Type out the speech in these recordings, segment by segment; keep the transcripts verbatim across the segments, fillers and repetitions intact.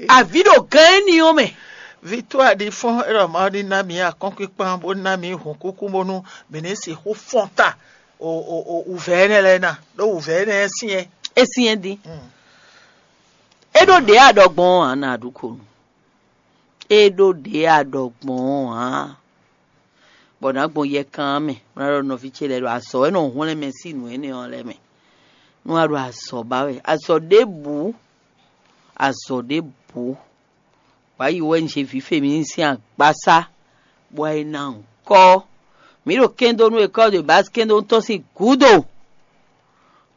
Avǐ ɖo gán éní ɔ́ mɛ. Victoire ɖi fɔ́n é ɖɔ Mawu ní ná mǐ akɔ́nkpíkpan bó ná mǐ hǔnkúkú bónú mǐ ní sixú fɔ́n ta o o o wǔvɛ́ énɛ́ lɛ́ɛ ná ɖó wǔvɛ́ énɛ́ syɛ́n. É syɛ́n dín. É ɖó ɖě aɖɔgbɔn ɔ́ ǎ, nǎ ɖu ko nu. É ɖó ɖě aɖɔgbɔn ɔ́ ǎ. Bɔ nǎ gbɔn yɛkan ɔ́ mɛ, bó ná ɖɔ nɔví ce lɛ́ɛ ɖo azɔ̌ e nɔ hwlɛ́n mɛ sín nǔ énɛ́ ɔ́ lɛ́ɛ mɛ. Nú a ɖo azɔ̌ ba wɛ, azɔ̌ ɖěbǔ, azɔ̌ ɖěbǔ, wǎ yi wɛ un zé vǐ Femini sín agbasá, bɔ é ná nyǐkɔ. Mǐ ɖo kɛ́ndónú école de base kɛ́ndónú tɔn sín gǔdo.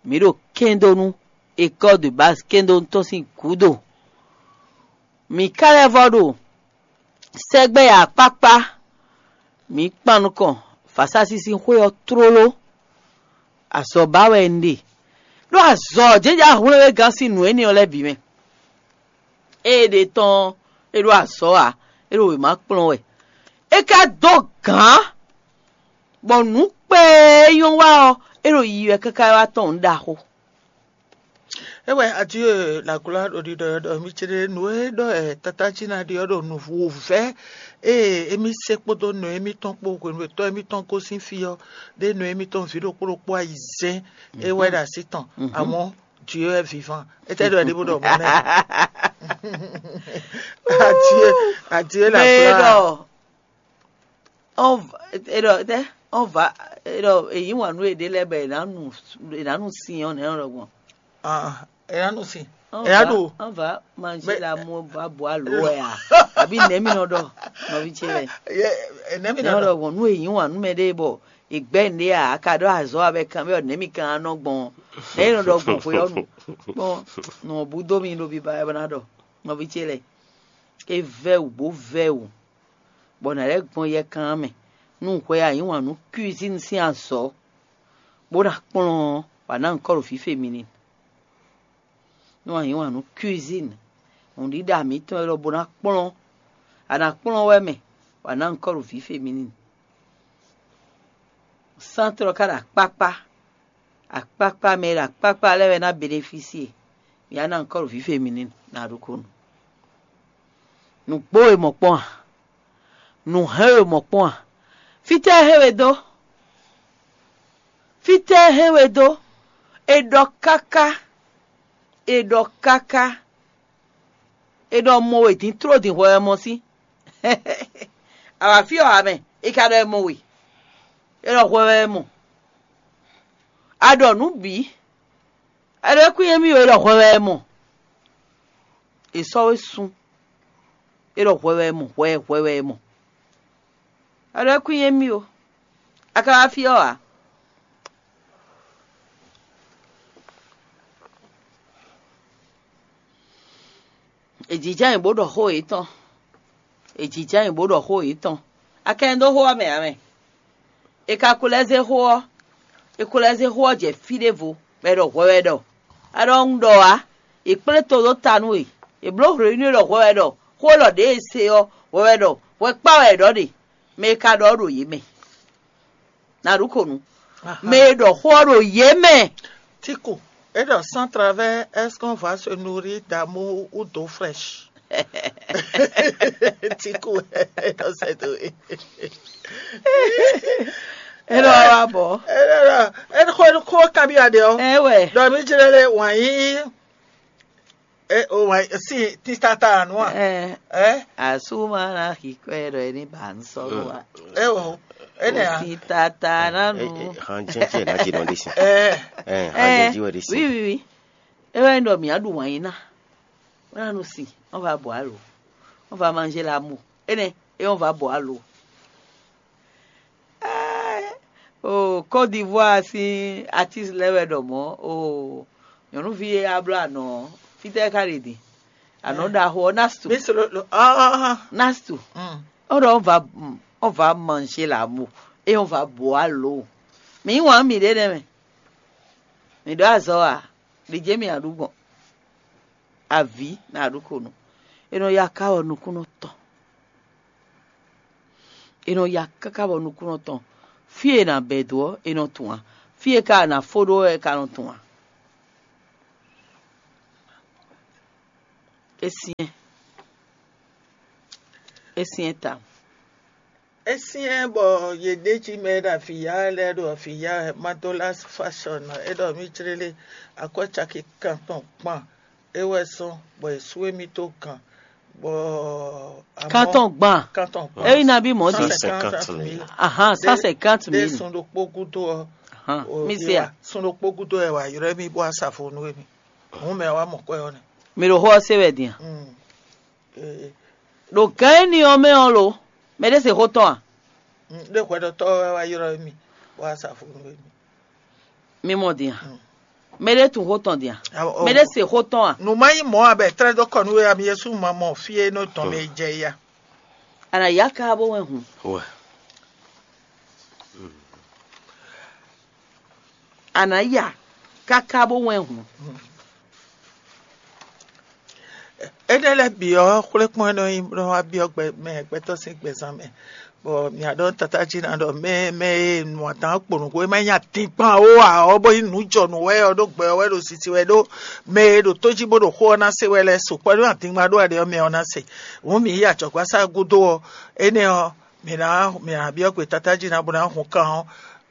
Mǐ ɖo kɛ́ndónú école de base kɛ́ndónú tɔn sín gǔdo. Mǐ ka lɛ́ vɔ ɖo sɛgbɛ akpákpá, mǐ kpan nukɔn vǎsásísí xwé ɔ́ tlóló. Azɔ̌ ba wɛ un ɖe, ɖó azɔ̌ jɛ́njɛ́n hwlɛ́nwégán sín nǔ énɛ́ ɔ́ lɛ́ɛ bǐ mɛ. Ée ɖe tɔn ɔ́, é ɖó azɔ̌ ǎ, é ɖo wěma kplɔ́n wɛ. É ka dó gǎn, bɔ nǔ kpɛɛ e nyɔ́ wa ɔ́, é ɖo yiyi wɛ káká wá tɔn nǔ ɖaxó. É wɛ Adieu la gloire ɖo ɖiɖɔ ɔ́ ɖɔ mi ce ɖe nǔ e ɖɔ ɛ tata jí ná ɖi ɔ́ ɖo nǔvú vɛ́ ée émí se kpódó nɔ émítɔn kpó hwenu e tɔ́ émítɔn gosín fí ɔ́ ɖé nɔ émítɔn vǐ ɖokpó ɖokpó ayizɛ́n é wɛ ɖo así tɔn amɔ̌ Dieu est vivant. Étɛ́ ɖɔ é ɖi bó ɖɔ mɔ̌ nɛ́? Adieu, Adieu la gloire. Ɔn va eɖɔ tɛ ɔn va eɖɔ èyí wǎn nú eɖé lɛ́ɛ bɔ è nǎ nu è nǎ nu sin ɔ́ nɛ̌ nɔ ɖɔ gbɔn. Ah, ena nu si. Ena ɖo. Ɔn va manzé la mú va bu alo wɛ a? Àbí nɛ̌ mi nɔ ɖɔ nɔví ce lɛ? Ena mi nɔ ɖɔ. Ɖɔ gbɔn nú èyí wǎn nú mɛ ɖé bɔ ìgbẹ́ ǹɖé a ka ɖɔ azɔ̌ abɛ kan bɛ nɛ̌ mi kan nɔ gbɔn nɛ̌ nɔ ɖɔ gbɔn xwe ɔ́ nu gbɔn nɔ bú dó mi ɖo biba ɛ bɔ ná ɖɔ nɔví ce lɛ. É vɛ́ wǔ bó vɛ́ wǔ, bɔ nǎ lɛ́ gbɔn yɛkan ɔ́ mɛ, nú hwɛ a yǐ wǎn nú cuisine sín azɔ̌, bó ná kplɔ́n ɔ́, wǎ ná nyǐkɔ ɖo vǐ femini. Nú a yǐ wǎn nú cuisine, nǔɖiɖa mǐtɔn élɔ́ bó ná kplɔ́n, a nǎ kplɔ́n wɛ mɛ, wǎ ná nyǐkɔ ɖo vǐ femini. Sántrɔ ka ɖo akpákpá, akpákpá mɛ e ɖo akpákpá lɛ́ɛ wɛ ná benefísie. Mǐ wá ná nyǐkɔ ɖo vǐ femini ná ɖokpónɔ. Nǔgbó e mɔ kpɔ́n a? Nǔ hɛn e mɔ kpɔ́n a? Fítɛ́ e hɛn we dó? Fítɛ́ e hɛn we dó? È ɖɔ káká, è ɖɔ káká, è ɖɔ mɔ we dín tló din hwɛ wɛ mɔ sín. Awǎ fí ɔ́ ǎ mɛ, è ka ɖɔ è mɔ we. È ɖɔ hwɛ wɛ è mɔ. A ɖɔ nǔ bǐ. A ɖɔ é kún nyɛ mì ó, è ɖɔ hwɛ wɛ è mɔ. È sɔ́ we sun. É ɖɔ hwɛ wɛ è mɔ, hwɛ hwɛ wɛ è mɔ. A ɖɔ é kún nyɛ mì ó. A ka wá fí ɔ́ ǎ. È jǐjá nyi bó ɖɔ xó yětɔn. È jǐjá nyi bó ɖɔ xó yětɔn. A ka nyi dó xó ɔ́ mɛ ǎ mɛ. È ka ko lɛ́ zé xó ɔ́, è ko lɛ́ zé xó ɔ́ jɛ fí ɖěvo, bɔ è ɖɔ hwɛ wɛ ɖɔ. A ɖɔ un ɖɔ ǎ, è kplé to ɖó ta nú we, è bló hwlě nú é ɖɔ hwɛ wɛ ɖɔ xó élɔ́ ɖě e se ɔ́, hwɛ wɛ ɖɔ hwɛ kpá wɛ è ɖɔ ɖe, mɛ e ka ɖɔ ɔ́ ɖo yě mɛ. Nǎ ɖu ko nu. Mɛ e ɖɔ xó ɔ́ ɖo yě mɛ. Tiku, et donc sans travers, est-ce qu'on va se nourrir d'amour ou d'eau fraîche? Tiku, et donc c'est tout. Eno wa bɔ. Et donc, et ko ko kabi ade o. Ewɛ. Donc mi jere le wan yi. E o wa si titata nua. Ɛ. Ɛ. Asuma na xixɔ ɖɔ eni ba nsɔlɔ wa. E o. Ene a. Titata na nu. Han jɛn jɛn na dzi nɔ ɖi si. Ɛ. Ɛ han jɛn dzi wɛ ɖi si. Wi wi wi. E wɛ ɖɔ mia ɖu wǎn yín na. Wọ́n á nu si. Wọ́n va bọ̀ á lò. Wọ́n va manger l'amour. Ene e wọ́n va bọ̀ á lò. Oo, Côte d'Ivoire sín artiste lɛ́ɛ wɛ ɖɔ mɔ̌. Oo, nyɔ̌nuví e a bló anɔ̌ ɔ́, fítɛ́ ká ɖe din? Anɔ̌ ɖaxó ɔ́, Nastu. Nastu. Ɔ́ ɖɔ ɔ́ va ɔ́ va manzé lǎ mo, eye ɔ́ va bǒ alo. Mǐ wǎn mǐɖée nɛ́ mɛ. Mǐ ɖó azɔ̌ ǎ, ɖi jě mǐ ǎ ɖu gbɔn. Avǐ nǎ ɖu ko nú. È nɔ ya ká wɛ nukúnnɔ tɔn. È nɔ ya káká bɔ nukúnnɔ tɔn. Fí e è nǎ bɛ̌ dó ɔ́, è nɔ tunwun ǎ. Fí e ka è nǎ fó ɖó ɔ́, è ka nɔ tunwun ǎ. É syɛ́n, é syɛ́n tawun. É syɛ́n bɔ yě ɖe jí mɛ e ɖo avǐ ya lɛ́ɛ ɖo avǐ ya wɛ, Madolas Fashion, é ɖɔ mì jlélé akwɛ́ caki kantɔn gban é wɛ zɔ́n bɔ è sú émí dó gan, bɔ amɔ̌ Kantɔn gban. Kantɔn gban. É yi nabí mɔ̌ din? Cent cinquante mille. Ahan, cent cinquante mille. Sun ɖokpó gúdo ɔ́. Ahan, mi se a? Sun ɖokpó gúdo ɛ wà yrɔ́ émí bó wá sa vo nú émí. Hǔn mɛ wá mɔ kwɛ ɔ́ nɛ́. Mi ɖo xó ɔ́ se wɛ din a? Ɖo gǎn énɛ́ ɔ́ mɛ ɔ́ lo, mɛ ɖé se xó tɔn a? Ɖé hwɛɖɔtɔ́ wɛ wá ylɔ́ mì bó wá sa vo nú mì. Mi mɔ din a? Mɛ ɖé tunwun xó tɔn din a? Mɛ ɖé se xó tɔn a? Nǔ má nyí mɔ̌ ǎ bɔ è tlɛ́ dó kɔ nú we ǎ, mi Jezu ma mɔ fí e nɔ tɔn mɛ jɛ ya. A nǎ yá ká bó wɛn hǔn. A nǎ ya káká bó wɛn hǔn. Énɛ́ lɛ́ɛ bǐ ɔ́, xwlékpɔ́n e nɔ nyí bó nɔ wá byɔ́ gbɛ mɛ gbɛtɔ́ sín gbɛzán mɛ, bɔ mǐ wá ɖɔ tatájí ná ɖɔ mɛ mɛ e nu adǎn kpo nǔgbó e má nyí adingban ó ǎ ɔ́, bó nyí nǔjɔnǔ wɛ ɔ́ ɖó gbɛ ɔ́ wɛ ɖo sisi wɛ ɖó mɛ e ɖo tó jí bó ɖo xó ɔ́ ná se wɛ lɛ́ɛ sukpɔ́ ɖó adingban ɖó aɖe ɔ́ mɛ ɔ́ ná se. Hǔn mǐ yi ajɔ̌gbásá gúdo ɔ́, énɛ́ ɔ́, mǐ ná mǐ ná byɔ́ gbe tatájí ná bó ná hun kan ɔ́,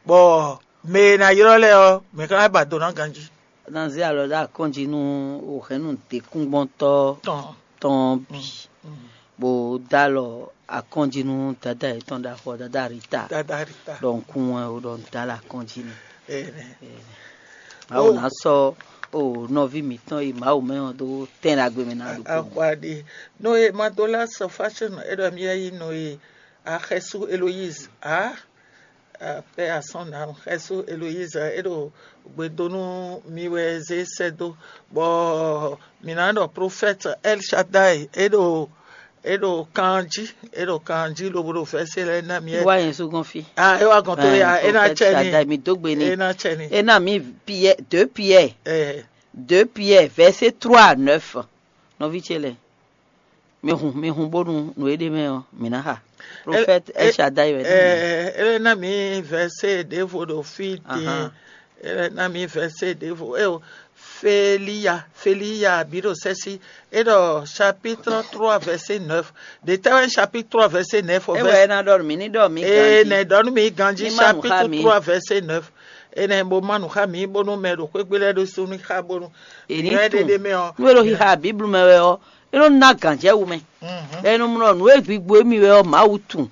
bɔ mɛ e ná ylɔ́ lɛ́ɛ ɔ́, mǐ ka ná ba do ná ganjí. Ná zé alɔ ɖó akɔ́njí nú wǒhɛ́nnu ɖěkúngbɔ́ntɔ́ tɔn bǐ, bó dó alɔ akɔ́njí nú dadá yětɔn ɖaxó ɔ́, dadá Rita. Dadá Rita. Ɖɔ un kún wɛn ó, ɖɔ un dó alɔ akɔ́njí n'i. Mawu ná sɔ́ o nɔví mǐtɔn e Mawu mɛ ɔ́ dó tɛn ɖagbe mɛ ná ɖokpó. Axwaɖi. Nɔ e Madolas Fashion é ɖɔ mì yɛ yí nɔ e Axɛsu Eloise a? Paix à son âme. Xɛsu Eloise é ɖo gbe dó nú mi wɛ zé sɛ́ dó, bɔ mǐ ná ɖɔ profɛ́t El Shaddai é ɖo é ɖo kan jí é ɖo kan jí lobo ɖo vɛ̌sé lɛ́ɛ ná mi. Wá yẹn só gɔn fí. Ah, é wá gɔn tó ya é ná cɛ ni. Shaddai, mi dó gbe ni. É ná cɛ ni. É ná mi Pierre, deux Pierre. Eh. Deux Pierre, verset trois à neuf. Nɔví ce lɛ. Mi hun, mi hun bónú nǔ e ɖ'é mɛ ɔ́, mǐ ná xa. Profɛ́t El Shaddai wɛ. Ɛ ɛ ná mi vɛsé ɖěvo ɖo fí din. Ɛ ná mi vɛsé ɖěvo. Eo, Feliya, Feliya bǐ ɖo sɛ́sí. É ɖɔ chapitre trois verset neuf. Ɖě tɛ́ wɛ chapitre trois verset neuf ɔ́? É wɛ é ná ɖɔ nú mǐ ní ɖɔ mí ganjí. Nɛ ɖɔ nú mǐ ganjí. Chapitre trois verset neuf. Énɛ́ bó má nǔ xá mǐ bónú mɛ ɖo xwé gbe lɛ́ɛ ɖésú ní xá bónú. È ní tunwun. Nú é ɖo xixa Bíblu mɛ wɛ ɔ́, é nɔ ná gǎnjɛwú mɛ. È nɔ mlɔ nǔ e gbigbo émí wɛ ɔ́, Mawu tunwun.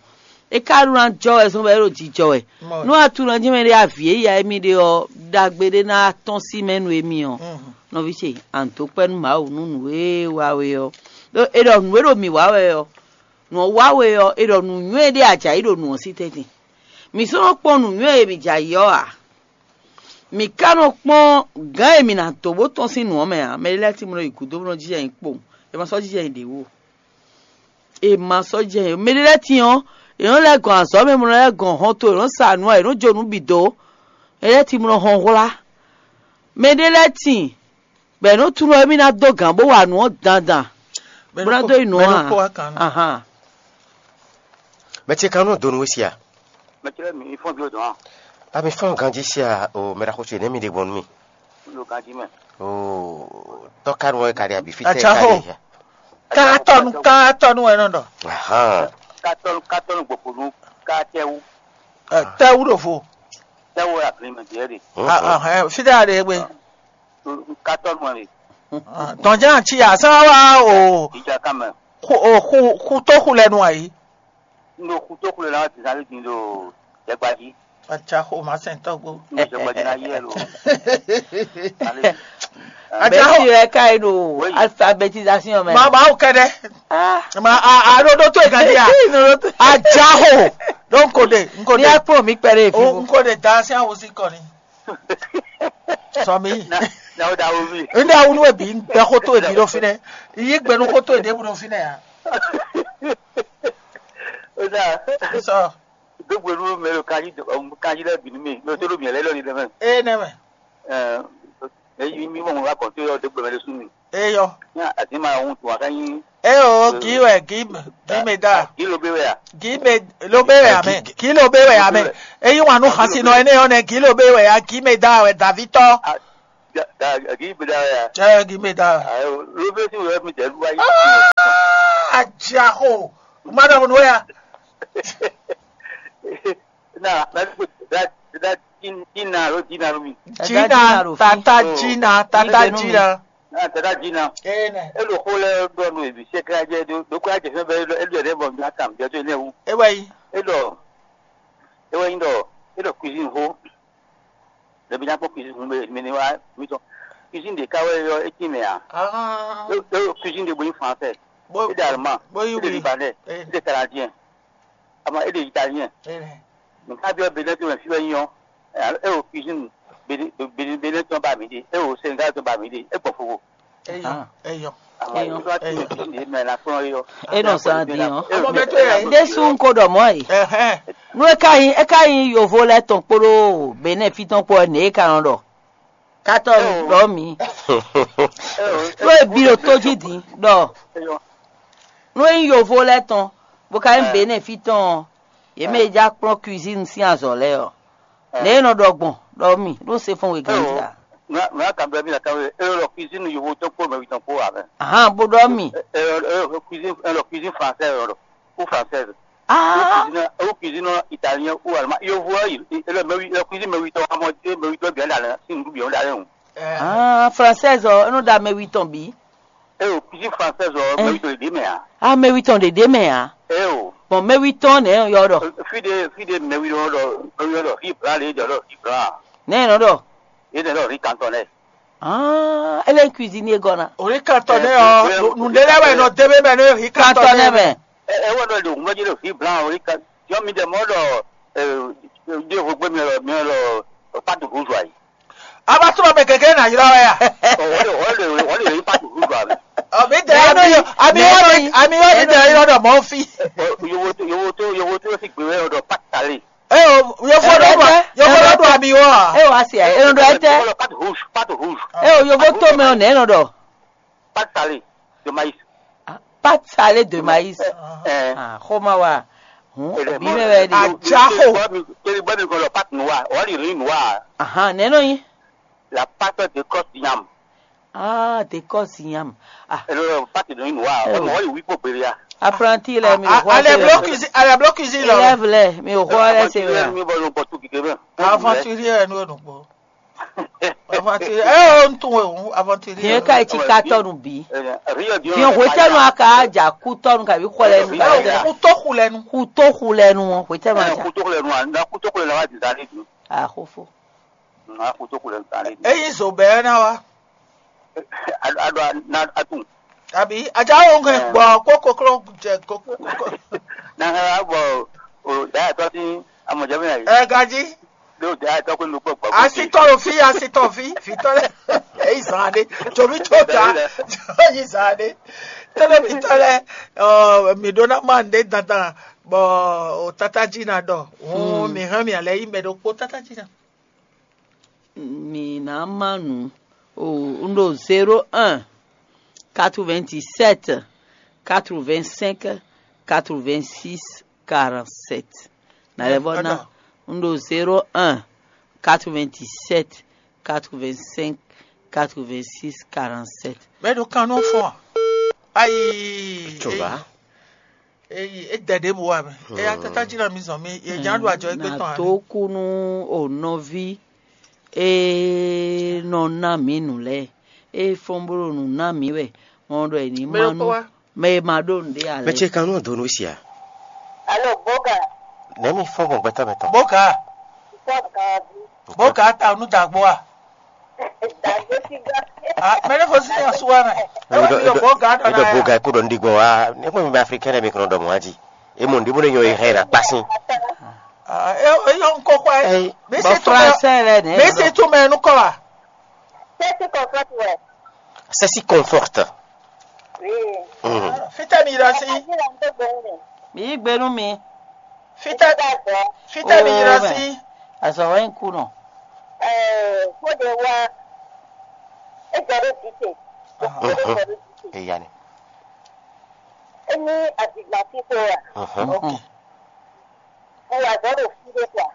É ka ɖó ná jɔ wɛ zɔn bɔ é ɖo jijɔ wɛ. Nú atunɔ jí mɛ ɖé avǐ e ya émí ɖe ɔ́, ɖagbe ɖé ná tɔ́n sí mɛ nú émí ɔ́, nɔví ce, a nǐ dó kpɛ́ nú Mawu nú nǔ e wa we ɔ́. Ɖó è ɖɔ nǔ e ɖo mǐ wa wɛ ɔ́, nǔ ɔ́ wa we ɔ́, è ɖɔ nǔnywɛ́ ɖé a jǎ yi ɖo nǔ ɔ́ sí tɛ́ntin. Mǐ sɔ́ nɔ kpɔ́n nǔnywɛ́ e mǐ jǎ yi ɔ́ ǎ. Mǐ ka nɔ kpɔ́n gǎn e mǐ ná dó bó tɔ́n sín nǔ ɔ́ mɛ ǎ. Mɛ ɖé lɛ́ɛ tín bó nɔ yi gǔdo bó nɔ jínjɔ́n ayǐ kpowun. È ma sɔ́ jínjɔ́n ayǐ ɖě wú o. È ma sɔ́ jínjɔ́n ayǐ ɖě wú. Mɛ ɖé lɛ́ɛ tín ɔ́, è nɔ lɛ́ gɔn azɔ̌ mɛ, bó nɔ lɛ́ gɔn hɔnto, è nɔ sa nǔ ǎ, è nɔ jó nǔ bǐ dó. Mɛ ɖé lɛ́ɛ tín bó nɔ hɔn hwlá. Mɛ ɖé lɛ́ɛ tín bɔ è nɔ tunwun ɖɔ émí ná dó gǎn bó wa nǔ ɔ́ dandan, bó ná dó yi nǔ ɔ́ a? Ahan. Mɛ ce ka nɔ donu we sia? Mɛ ce lɛ́ɛ mi fɔ́n ví dɔn a? Ami fɔ́n ganjí sia o, mɛ ɖaxó ce nɛ́ mi ɖe gbɔn nú mi. Lo ganjí mɛ. O, tɔ́ ka nú wɛ ka ɖe abi fí tɛ ka ɖe ya. Katɔnu katɔnu wɛ nɔ ɖɔ. Ahan. Katɔnu katɔnu gbɔkonu katɛwu. Tɛwu ɖo vo. Tɛwu wɛ aglimɛ diɛ de. Fí ɖe a ɖe gbe. Katɔnu wɛ. Tɔnjá ci a sán wa o. Ìjà kan mɛ. Xu o xu xu tó xu lɛ nu ayi. N ɖo xu tó xu lɛ nu ayi, zan lé din ɖo jɛgba jí. Atsa xo ma sɛn tɔgbo. N ɖo jɛgba jí ná yɛ lo. Atsa xo. Bɛsi wɛ ka yi ɖo alphabétisation mɛ. Ma ma o kɛdɛ. Ma a a ɖo ɖo to yi kan di ya. Atsa xo. Ɖo n ko de n ko de. Ní akpɔ mi kpɛ ɖe fi. O n ko de da si awo si kɔ ni. Sɔmi. Na o da wo mi. N da wunu ebi n bɛ xo to ebi ɖo fi nɛ. Yi gbɛnu xo to eɖe bu ɖo fi nɛ ya. O da. Sɔ. Dogbe nu mɛ lo kanji kanji lɛ bi nu mi lo to lo mi lɛ lɔ ni dɛ mɛ. Ee nɛ mɛ. Ɛɛ, eyi mi mɔ mo wa kɔn to yɔ dogbe mɛ lo sun mi. Eyɔ. Ní àti máa ń tún wá ká yín. Eyɔ kì í wẹ̀ kì í kì í mè dá. Kì í lo bí wẹ̀ à. Kì í mè lo bí wẹ̀ àmẹ́ kì í lo bí wẹ̀ àmẹ́. Eyín wà nù xasi nọ ẹni yọ nẹ kì í lo bí wẹ̀ à kì í mè dá wẹ̀ dàví tọ́. Gigi bɛ da ya. Ɛ gi mɛ da. Ayo, ló fẹ́ sí wẹ́ẹ́ mi tẹ̀ lúwa yìí. Ajaxo. Madam no ya. Na na ko da da din din na ro din na ro mi. Jina, tata Jina, tata Jina. Na da da din na. Ene. E lo xo lɛ ɖɔ nu ebi sɛkla jɛ do do kɔ ajɛ fɛn bɛ e lo e lo yɛ bɔ mi atam jɛ to ne wu. E wɛ yi. E ɖɔ e wɛ yi ɖɔ e ɖɔ cuisine xo. Ɖebi nya kpɔ́n cuisine hun mɛ mɛ ne wá mi tɔn. Cuisine ɖe ka wɛ yɔ e tin mɛ a? Ah. E e cuisine ɖe bo yi français. Bo e ɖe allemand. Bo yi e ɖe oui. Libanais. Eh. E ɖe canadien. Ama e ɖe italien. Eh. Nka bi ɔ Benin to mɛ fi wɛ nyɔ. E o cuisine Benin Benin tɔn ba mi ɖe. E o Sénégal tɔn ba mi ɖe. E gbɔ fofo. Eyɔ, eyɔ. Eyɔ. E nɔ zan din ɔ. Amɔ bɛ to yɛ. Ɖésú ń kó ɖɔ mɔ̌ e. Ɛhɛn. Nú é ka nyí é ka nyí yovo lɛ́ɛ tɔn kpódó Benɛ́ɛ fí tɔn kpó ɔ́, nɛ̌ é ka nɔ ɖɔ? Katɔ ɖɔ mǐ. Nú é bí ɖo tó jí din ɖɔ. Nú é nyí yovo lɛ́ɛ tɔn, bó ka nyí Benɛ́ɛ fí tɔn ɔ́, yě mɛ e já kplɔ́n cuisine sín azɔ̌ lɛ́ɛ ɔ́, nɛ̌ é nɔ ɖɔ gbɔn ɖɔ mì ɖó se fɔ́n wegán jí a? Mɛ a kan bɛ́ mì la kan wé, e ɖɔ cuisine yovo tɔn kpó mɛ tɔn kpó ǎ mɛ. Ahan, bó ɖɔ mì. E ɖɔ cuisine e ɖɔ cuisine française ɖɔ ou française. Ah, Cuisine ou cuisine italien ou allemand. Yovo e ɖɔ mɛ e ɖɔ cuisine mɛ tɔn amɔ e mɛ tɔn bien la lɛ, si ndu bien la lɛ hùn. Ah, française ɔ, e nɔ ɖo amɛ wi tɔn bǐ. E ɖɔ cuisine française ɔ, mɛ tɔn ɖe mɛ a. Ah, mɛ wi tɔn ɖe ɖe mɛ a. E o. Bon, mɛ wi tɔn nɛ yɔ ɖɔ. Fi de fi de mɛ wi ɖɔ ɖɔ mɛ wi ɖɔ fi bla le ɖɔ ɖɔ fi bla. Nɛ nɔ ɖɔ. Ye ɖɔ ɖɔ ri kantɔn nɛ. Ah, ele cuisine gɔna. Orí kan tɔ nɛ ɔ, nùdélé wɛ nɔ débé mɛ ní hí kan tɔ nɛ mɛ. Ɛ ɛ wɔ ɖɔ ɖo ŋgbɛdzi ɖo vi blan orí kan. Yɔ mi ɖe mɔ ɖɔ ɛ ɖe vo gbé mi lɔ mi lɔ patu rouge ayi. A va trɔ mɛ gɛgɛ na yrɔ wɛ ya. Ɔ wɔ ɖe wɔ ɖe wɔ ɖe yi patu rouge ayi. Ɔ mi dɛ ami ami yɔ ami yɔ mi dɛ yrɔ ɖɔ mɔ fi. Yovo to yovo to yovo to si gbe wɛ ɖɔ patu salé. Eo, yovo lɔ ɖu yovo lɔ ɖu ami wɔ a? Eo asi a eno ɖɔ etɛ. Pâte rouge, pâte rouge. Eo yovo to mɛ ɔ nɛ nɔ ɖɔ. Pâte salé de maïs. Pâte salé de maïs. Ah, xoma wa. Hun bi mɛ wɛ de. Ajaxo. Teli bɔ mi kɔlɔ pâte noir, ɔ li riz noir. Ahan, nɛ nɔ nyi. La pâte de kɔs yam. Ah, de kɔs yam. Ah. Elo pâte de noir, ɔ mɔ yi wi po beria. Apprenti lɛ mi xɔ. Ale blo cuisine, ale blo cuisine lɔ. Élève lɛ mi xɔ lɛ se wɛ. Mi bɔ lo bɔ tu kike bɛ. Aventurier nu nu gbɔ. Aventurier, eh, on tun we, aventurier. Bien ka ti ka tɔ nu bi. Bien hwetɛnu aka ja ku tɔ nu ka bi xɔ lɛ nu ka ja. Ku to xu lɛ nu. Ku to xu lɛ nu, hwetɛnu aja. Ku to xu lɛ nu, na ku to xu lɛ na wa di dali du. Ah, xofo. Na ku to xu lɛ nu dali du. Eyi zo bɛ na wa. A a do na a tun. Abi aja wo nge gbɔ ko koklo jɛ ko ko. Na ha bɔ o da to tin amɔjɛ mi na yi. Eh, gaji. Ɖo ɖe atɔ ko nukpɔ gbɔ. Asitɔ lo fi, asitɔ fi, fitɔ lɛ. Eyi zan ɖe, tsovi tso ta, eyi zan ɖe. Tɛlɛ fitɔ lɛ, ɔ mi ɖo na ma ɖe dandan, bɔ o tata dzi na ɖɔ, o mi hɛn mi alɛ yi mɛ ɖokpo tata dzi na. Mi na ma nu o n ɖo zéro un, quatre-vingt-dix-sept, quatre-vingt-cinq, quatre-vingt-six, quarante-sept. Na lɛ vɔ na un ɖo zéro un, quatre-vingt-dix-sept, quatre-vingt-cinq, quatre-vingt-six, quarante-sept. Mɛ ɖo kan nɔ fɔ. Ayi. Tsoba. Eyi e dɛ ɖe bo wa mɛ. Eya tata dzi na mi zɔn mi ye nya ɖo adzɔ egbe tɔn. Na to ku nu o nɔvi e nɔ na mi nu lɛ. E fɔn blo nu na mi wɛ. Ɔn ɖɔ e ni ma nu. Mɛ e ma ɖo nǔɖé ǎ lɛ́ɛ. Mɛ ce kan nú donu sia. Alo, Boga. Nɛ̌ mi fɔ́n gbɔn gbɛtɔ́ mɛ tɔn? Boga. Fɔ́n gan ɔ́ jí. Boga ta nú dagbo a? Dagbo ti gan. Ah, mɛ ne fɔ si ya suwa nɛ. Ewa mi ɖɔ Boga ɖɔ na. Eɖɔ Boga kó ɖɔ nɖi gbɔn wa. Ne kpɔn mi bɛ Africain ɖe mi kɔnɔ ɖɔ mɔ aji. E mɔ nɖi mo ne nyɔ e hɛn na kpasin. Ah, e e yɔ nkɔ kwa. Ei. Bɔ français lɛ nɛ. Mɛ se to mɛ nukɔ wa. Sesi kɔfɔti wɛ. Sesi kɔfɔti. Fitɛ mi yira si. Mi yí gbe nú mi. Fitɛ fitɛ mi yira si. Azɔ wɛ ń kú nɔ. Kóde wa. Ejɔ ɖo dite. Eya ni. Emi adigba fifo wa. Ok. Mo wa zɔ ɖo fi ɖe kwa.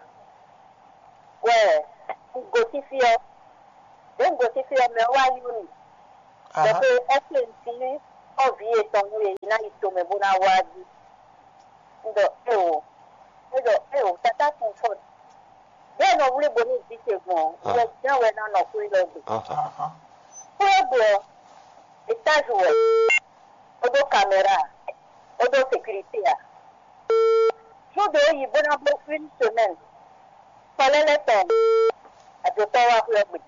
Wɛ. Go fifi ɔ. Ɖě un gosín fí ɔ́, mɛ ɔ́ wá ylɔ́ mì ɖɔ xwe ɔ́, se un cí xɔ́vǐ yětɔn nú yě yi ná yi tomɛ bó ná wá jí. Un ɖɔ éeǒ. É ɖɔ éeǒ, tatá Comfort, ɖěe nɔ wlí bo ní vǐ ce gbɔn ɔ́, wɛ jɛ́n wɛ ná nɔ xwé élɔ́ gbe. Xwé ɔ́ gbe ɔ́, étázi wɛ, bó ɖó kamɛra, bó ɖó sekirité ǎ. Zɔ́n ɖě é yi bó ná bló une semaine, kpɔlɛ́lɛ́ tɔn, ajotɔ́ wá xwé ɔ́ gbe,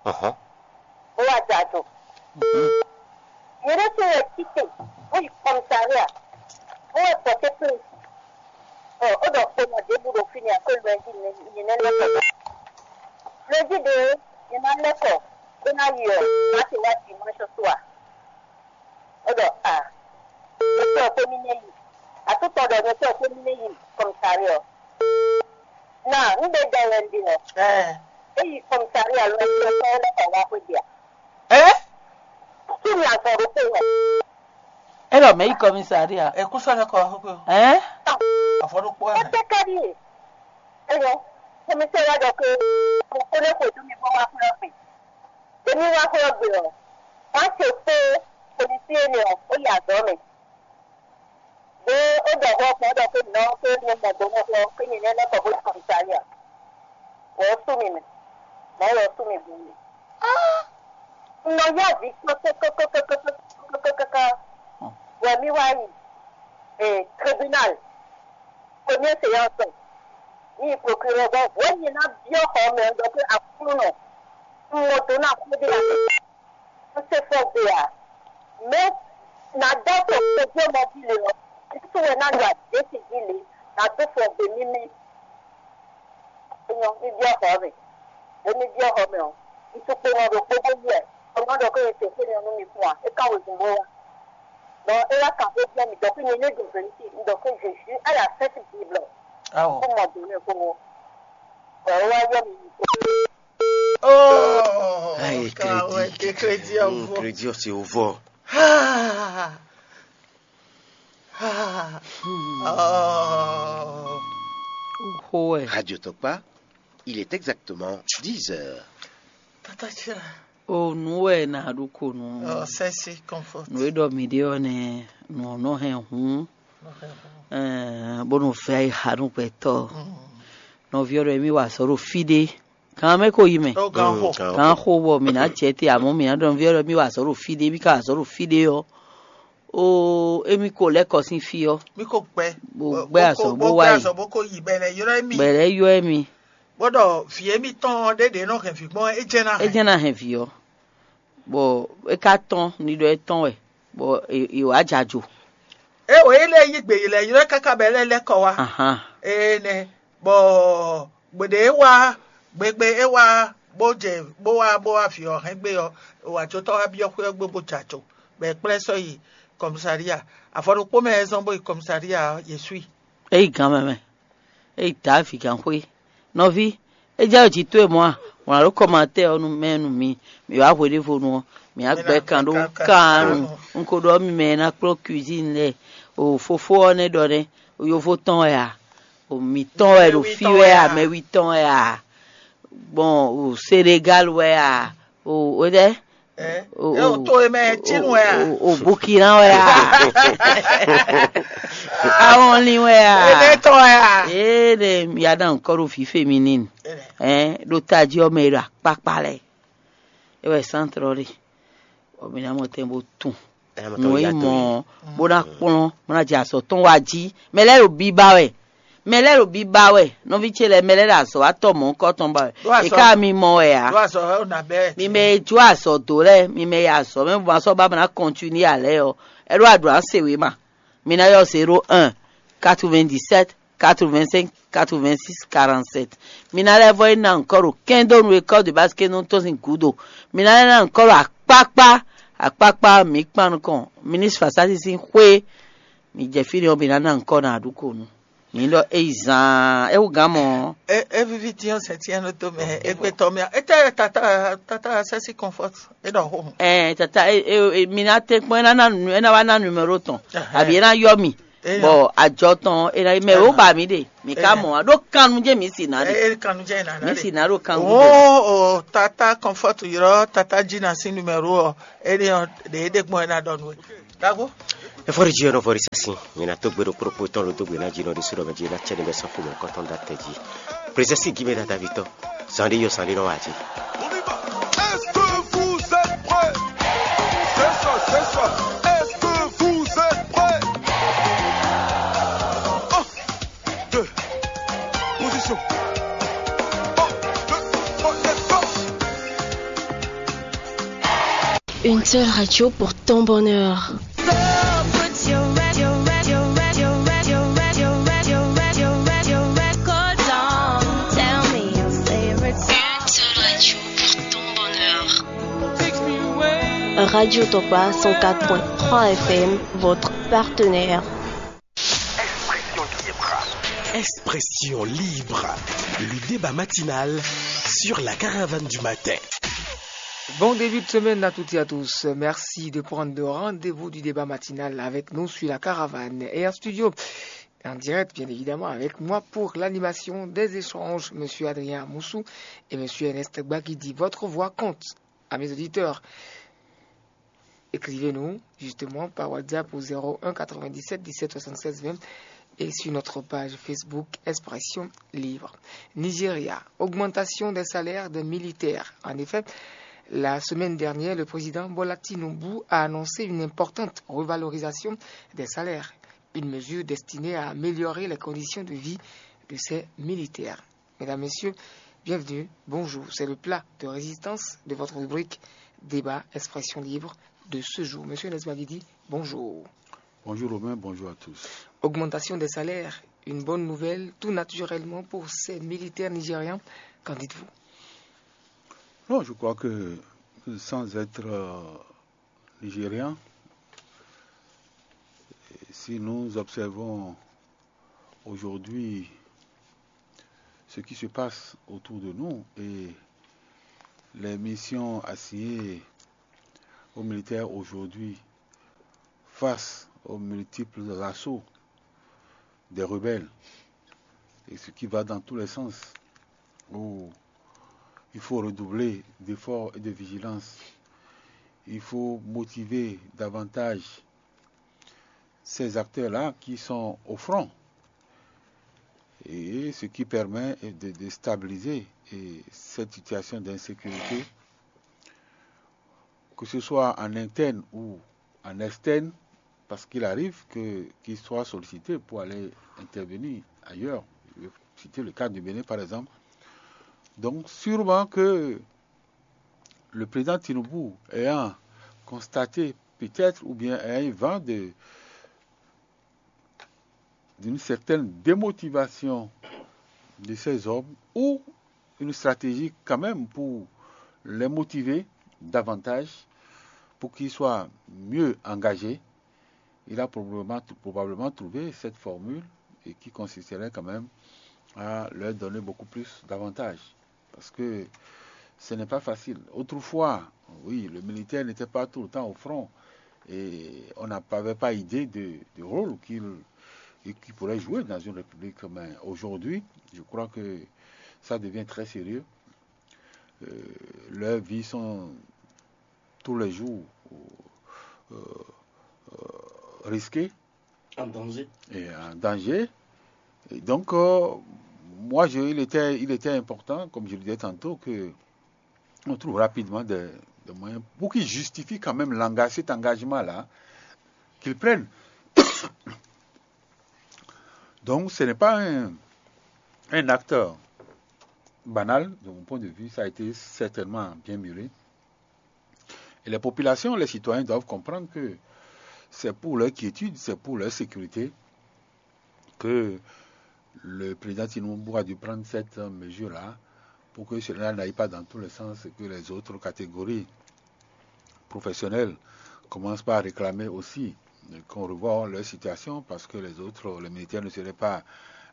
bó wá jɛ ajo. Nyɛ ɖésú wɛ títí, bó yi kɔmisaria, bó wɛ bɔ tɛ́ntin. Ɔ, ó ɖɔ kpɔ́nɔ ɖěbǔ ɖo fínɛ́, akwɛ́ lwɛ̌njí nyɛ nɛ́ lɛ́ kɔ. Lwɛ̌njí ɖě nyɛ ná lɛ́ kɔ bó ná yi ɔ́, má se wá dimanche soir. Ó ɖɔ a, nyɛ sɔ́ xwé mì nɛ́ yi. Atútɔ ɖɔ nyɛ sɔ́ xwé mì nɛ́ yi kɔmisaria ɔ́. Na, un ɖe ɖɔ wɛ un ɖe ɔ́. É yi kɔmisaria lɔ ɔ́, é lɛ́ kɔ wá xwé ɖe ǎ. Ɛ? Kí ni azɔn ɖokpó wɛ? É ɖɔ mɛ yi kɔmisaria. Ɛ kú sɔ́ lɛ́ kɔ wá xwé ɔ́. Ɛ? Avɔ ɖokpó wɛ. Ete ká ɖíe. Eyɔ, kɔmisaria ɖɔ ke kókó lɛ́ xwedó mi bó wá xwé ɔ́ gbe. Ɖě mi wá xwé ɔ́ gbe ɔ́, wá se kpó polisi énɛ́ ɔ́, ó yi azɔ̌ mɛ. Ɖó é ɖɔ hwɛ gbɔn ɖɔ xwé nɔ xwé nyɛ mɔ do nɔ xwɛ xwé nyɛ nɛ́ lɛ́ kɔ bó yi kɔmisa ya. Wɔ ɔ́ sú mi mɛ, mɔ̌ wɔ ɔ́ sú mi bǔ mi. Un nɔ yá vǐ kpɔ́ kpɔ́kpɔ́kpɔ́kpɔ́kpɔ́kpɔ́ wɛ mì wá yi tribunal, première séance. Ní yi procureur bɔ hwɛ nyɛ ná byɔ́ xɔ mɛ ɖɔ pé Aklúnɔ, un mɔ do ná xwé ɖé ǎ. Un se fɔ gbe ǎ. Mɛ ná dó afɔ kpɛjɔ mɔ jí le ɔ́, Kristu wɛ ná ɖo adě ce jí le, ná dó fɔ gbe mímí. Enyɔ, mì byɔ́ xɔ mɛ. Ɖě mì byɔ́ xɔ mɛ ɔ́, un tukpɔ́nɔ ɖokpó bó yi wɛ. Xɔ mɛ ɔ́ ɖɔ xó e se xó nyɔ nú mi fún ǎ, é ká wezun bó wá. Bɔ é wá kan xó byɔ́ mì ɖɔ xó nyɛ ní ɖo vɛ̌niti, un ɖɔ xó Jésus à la Sainte Bible. Awo. Kó mɔ dǒ nú ɛ kpódó. Bɔ é wá yɔ mì yi kpó. Oh, Aïe, car ouais, crédit. t'es crédit à Hmm, vous. Crédit, c'est au vent. Ah, ah, oh. Xó wɛ. Radio Tokpa, il est exactement dix heures. Tata Tchira. O nǔ wɛ nǎ ɖu ko nú Oh, sexy comfort. nǔ e ɖɔ mǐ ɖe ɔ́ nɛ́ nǔ ɔ́ nɔ hɛn hǔn, ɛɛ, bó nɔ vɛ ayixa nú gbɛtɔ́. Nɔví ɔ́ ɖɔ émí wa azɔ̌ ɖo fí ɖé. Gǎn mɛ ko yi mɛ. Oh, grand Mm, hope. grand Gǎn hope. xo bɔ mǐ ná jɛ te, amɔ̌ mǐ ná ɖɔ nɔví ɔ́ ɖɔ émí wa azɔ̌ ɖo fí ɖé, émí ka wa azɔ̌ ɖo fí ɖé ɔ́, o émí ko lɛ́ kɔ sín fí ɔ́, Mi ko gbɛ. Bo gbɛ azɔ̌ bó wá yi. Azɔ̌ bó ko yi bɛ lɛ yrɔ mi. Gbɛ lɛ́ yɔ émí. Bó ɖɔ vǐ émi tɔn ɖé ɖě nɔ hɛn vǐ gbɔn é jɛ ná É jɛ́n ná hɛn vǐ ɔ́, bɔ é ka tɔ́n ni ɖɔ é tɔ́n wɛ, bɔ è wǎ jɛ ajo. É wǒ é lɛ́ yí gbě yi lɛ yrɔ káká bɛ lɛ́ lɛ́ kɔ wá. Ahan. Ee nɛ bɔ gběɖé é wá gbégbé é wá bó jɛ bó wá bó wá vǐ ɔ́ hɛn gbé ɔ́, wǎ jó tɔ́ wá byɔ́ xwé ɔ́ gbé bó jɛ ajo, bɔ è kplá ɛ sɔ́ yi kɔmísalia. Afɔ ɖokpó mɛ é zɔ́n bó yi kɔmísalia ɔ́, yě sú i. É yi gǎn mɛ mɛ, é yi Davi gǎnxwé. Nɔví, é jɛ jǐ towe mɔ̌ a? Wlǎn ɖó kɔmatɛ́ ɔ́ nú mɛ nú mi. Mi wǎ hweɖěvonu ɔ́, mi wá gbɛ kan ɖó kan nu. Un ko ɖɔ mi mɛ e ná kplɔ́n cuisine lɛ́ɛ. O fofó ɔ́ nɛ́ ɖɔ nɛ́, o yovó tɔn wɛ a? O mǐtɔn wɛ ɖo fí wɛ a? Mɛ wi tɔn wɛ a? Gbɔn o Senegal wɛ a? O o ɖɛ? Ɛ o to e mɛ tinu wɛ a? O Burkina wɛ a? Awɔnlin wɛ a? Ene tɔn wɛ a? Ee ɖe ya ɖo ankɔ ɖo fí féminine. Ɛn ɖo tají ɔ́ mɛ e ɖo akpákpá lɛ. É wɛ centre ɔ́ ɖe. Ɔ mi ná mɔ tɛn bó tun. Nǔ e mɔ bó ná kplɔ́n bó ná jɛ azɔ̌ tɔn wá jí. Mɛ lɛ́ɛ ɖo biba wɛ. Mɛ lɛ́ɛ ɖo biba wɛ. Nɔví ce lɛ́ɛ mɛ lɛ́ɛ ɖo azɔ̌ wá tɔ mɔ̌hunkɔ tɔn ba wɛ. È ká mi mɔ wɛ ǎ. Do azɔ ɛ o na bɛ. Mi mɛ e jó azɔ̌ dó lɛ́ɛ, mi mɛ e azɔ̌ mɛ bó ma sɔ́ ba mɛ ná kɔntinué ǎ lɛ́ɛ ɔ́, é ɖó aɖǔ ná se wěma. Mi ná yɔ zéro un, quatre-vingt-dix-sept, quatre-vingt-cinq, quatre-vingt-six, quarante-sept. Mi ná lɛ́ vɔ yi ná encore ɖo kɛndonu école de base kɛndonu tɔn sín gǔdo. Mi ná lɛ́ ná encore ɖo akpákpá, akpákpá mi kpan nukɔn ministre Fasasi sín xwé. Mi jɛ fí ɖé ɔ́, mi ná ná encore ná ɖu ko nu. Mi ɖɔ é yi zaan, é wú gǎn mɔ. E e vivi tiɲɔ sɛ tiɲɛ ɖo to mɛ e gbe tɔ mia. E tɛ tata tata sɛsi comfort e ɖɔ xo. Ɛɛ tata e e e mi na te kpɔn e na na nu e na wa na numéro tɔn abi e na yɔ mi Bɔ ajɔ tɔn ɔ́, è nɔ yi mɛ wǒ ba mǐ ɖe, mǐ ka mɔ ǎ. Ɖó kannu jɛ́n mǐ si ná ɖe. Mǐ si ná ɖo kannu jɛ́n. O, o, tata Comfort ylɔ́ tata Jina sín numéro ɔ́, énɛ́ ɔ́, ɖě é ɖe gbɔn é ná ɖɔ nú we. Ɖaxó. Efɔɖi jí ɔ́ nɔ vɔ ɖi sɛ́sìn, mi ná tó gbe ɖokpó ɖokpó tɔn ɖo dó gbe ná jí nɔ ɖi sú ɖɔ mɛ jí ná cɛ ɖi bɛ sɔ́ xomɛ kɔ́tɔn ɖó atɛ jí. Prezɛsi gímɛ ná davitɔ, zan ɖé yɔ zan ɖé nɔ wá jí. On y va. Est-ce que vous êtes prêts? C'est ça, c'est ça. Est-ce que vous êtes prêts? Un, deux, position. Un, deux, trois, quatre, cinq. Une seule radio pour ton bonheur. Une seule radio pour ton bonheur. Radio Topa cent quatre point trois F M, votre partenaire. Expression libre. Le débat matinal sur la caravane du matin. Bon début de semaine à toutes et à tous. Merci de prendre le rendez-vous du débat matinal avec nous sur la caravane. Et en studio, en direct, bien évidemment, avec moi pour l'animation des échanges, Monsieur Adrien Moussou et Monsieur Ernest Gbagidi. Votre voix compte, à mes auditeurs. Écrivez-nous justement par WhatsApp au zéro un quatre-vingt-dix-sept dix-sept soixante-seize vingt et sur notre page Facebook Expression Libre. Nigeria, augmentation des salaires des militaires. En effet, la semaine dernière, le président Bola Tinubu a annoncé une importante revalorisation des salaires, une mesure destinée à améliorer les conditions de vie de ces militaires. Mesdames, Messieurs, bienvenue. Bonjour. C'est le plat de résistance de votre rubrique Débat Expression Libre de ce jour. Monsieur Nesbagidi, bonjour. Bonjour Romain, bonjour à tous. Augmentation des salaires, une bonne nouvelle, tout naturellement pour ces militaires nigériens. Qu'en dites-vous? Non, je crois que sans être euh, nigérian, si nous observons aujourd'hui ce qui se passe autour de nous et les missions assignées aux militaires aujourd'hui face aux multiples assauts des rebelles, et ce qui va dans tous les sens, où il faut redoubler d'efforts et de vigilance. Il faut motiver davantage ces acteurs-là qui sont au front, et ce qui permet de, de stabiliser, et cette situation d'insécurité, que ce soit en interne ou en externe, parce qu'il arrive que, qu'ils soient sollicités pour aller intervenir ailleurs. Je vais citer le cas du Bénin, par exemple. Donc, sûrement que le président Tinubu, ayant constaté peut-être ou bien ayant eu vent de, d'une certaine démotivation de ces hommes ou une stratégie quand même pour les motiver davantage, pour qu'ils soient mieux engagés, il a probablement, probablement trouvé cette formule et qui consisterait quand même à leur donner beaucoup plus d'avantages. Parce que ce n'est pas facile. Autrefois, oui, le militaire n'était pas tout le temps au front et on n'avait pas idée de, de rôle qu'il et qui pourrait jouer dans une république. Mais aujourd'hui, je crois que ça devient très sérieux. Euh, leurs vies sont tous les jours euh, euh, risquées. En danger. Et en danger. Et donc, euh, moi, je, il, était, il était important, comme je le disais tantôt, que on trouve rapidement des, des moyens pour qu'ils justifient quand même l'engagement, cet engagement-là, qu'ils prennent. Donc, ce n'est pas un, un acte banal, de mon point de vue, ça a été certainement bien mûri. Et les populations, les citoyens doivent comprendre que c'est pour leur quiétude, c'est pour leur sécurité que le président Tinubu a dû prendre cette mesure-là pour que cela n'aille pas dans tous les sens et que les autres catégories professionnelles commencent par réclamer aussi qu'on revoie leur situation parce que les autres, les militaires ne seraient pas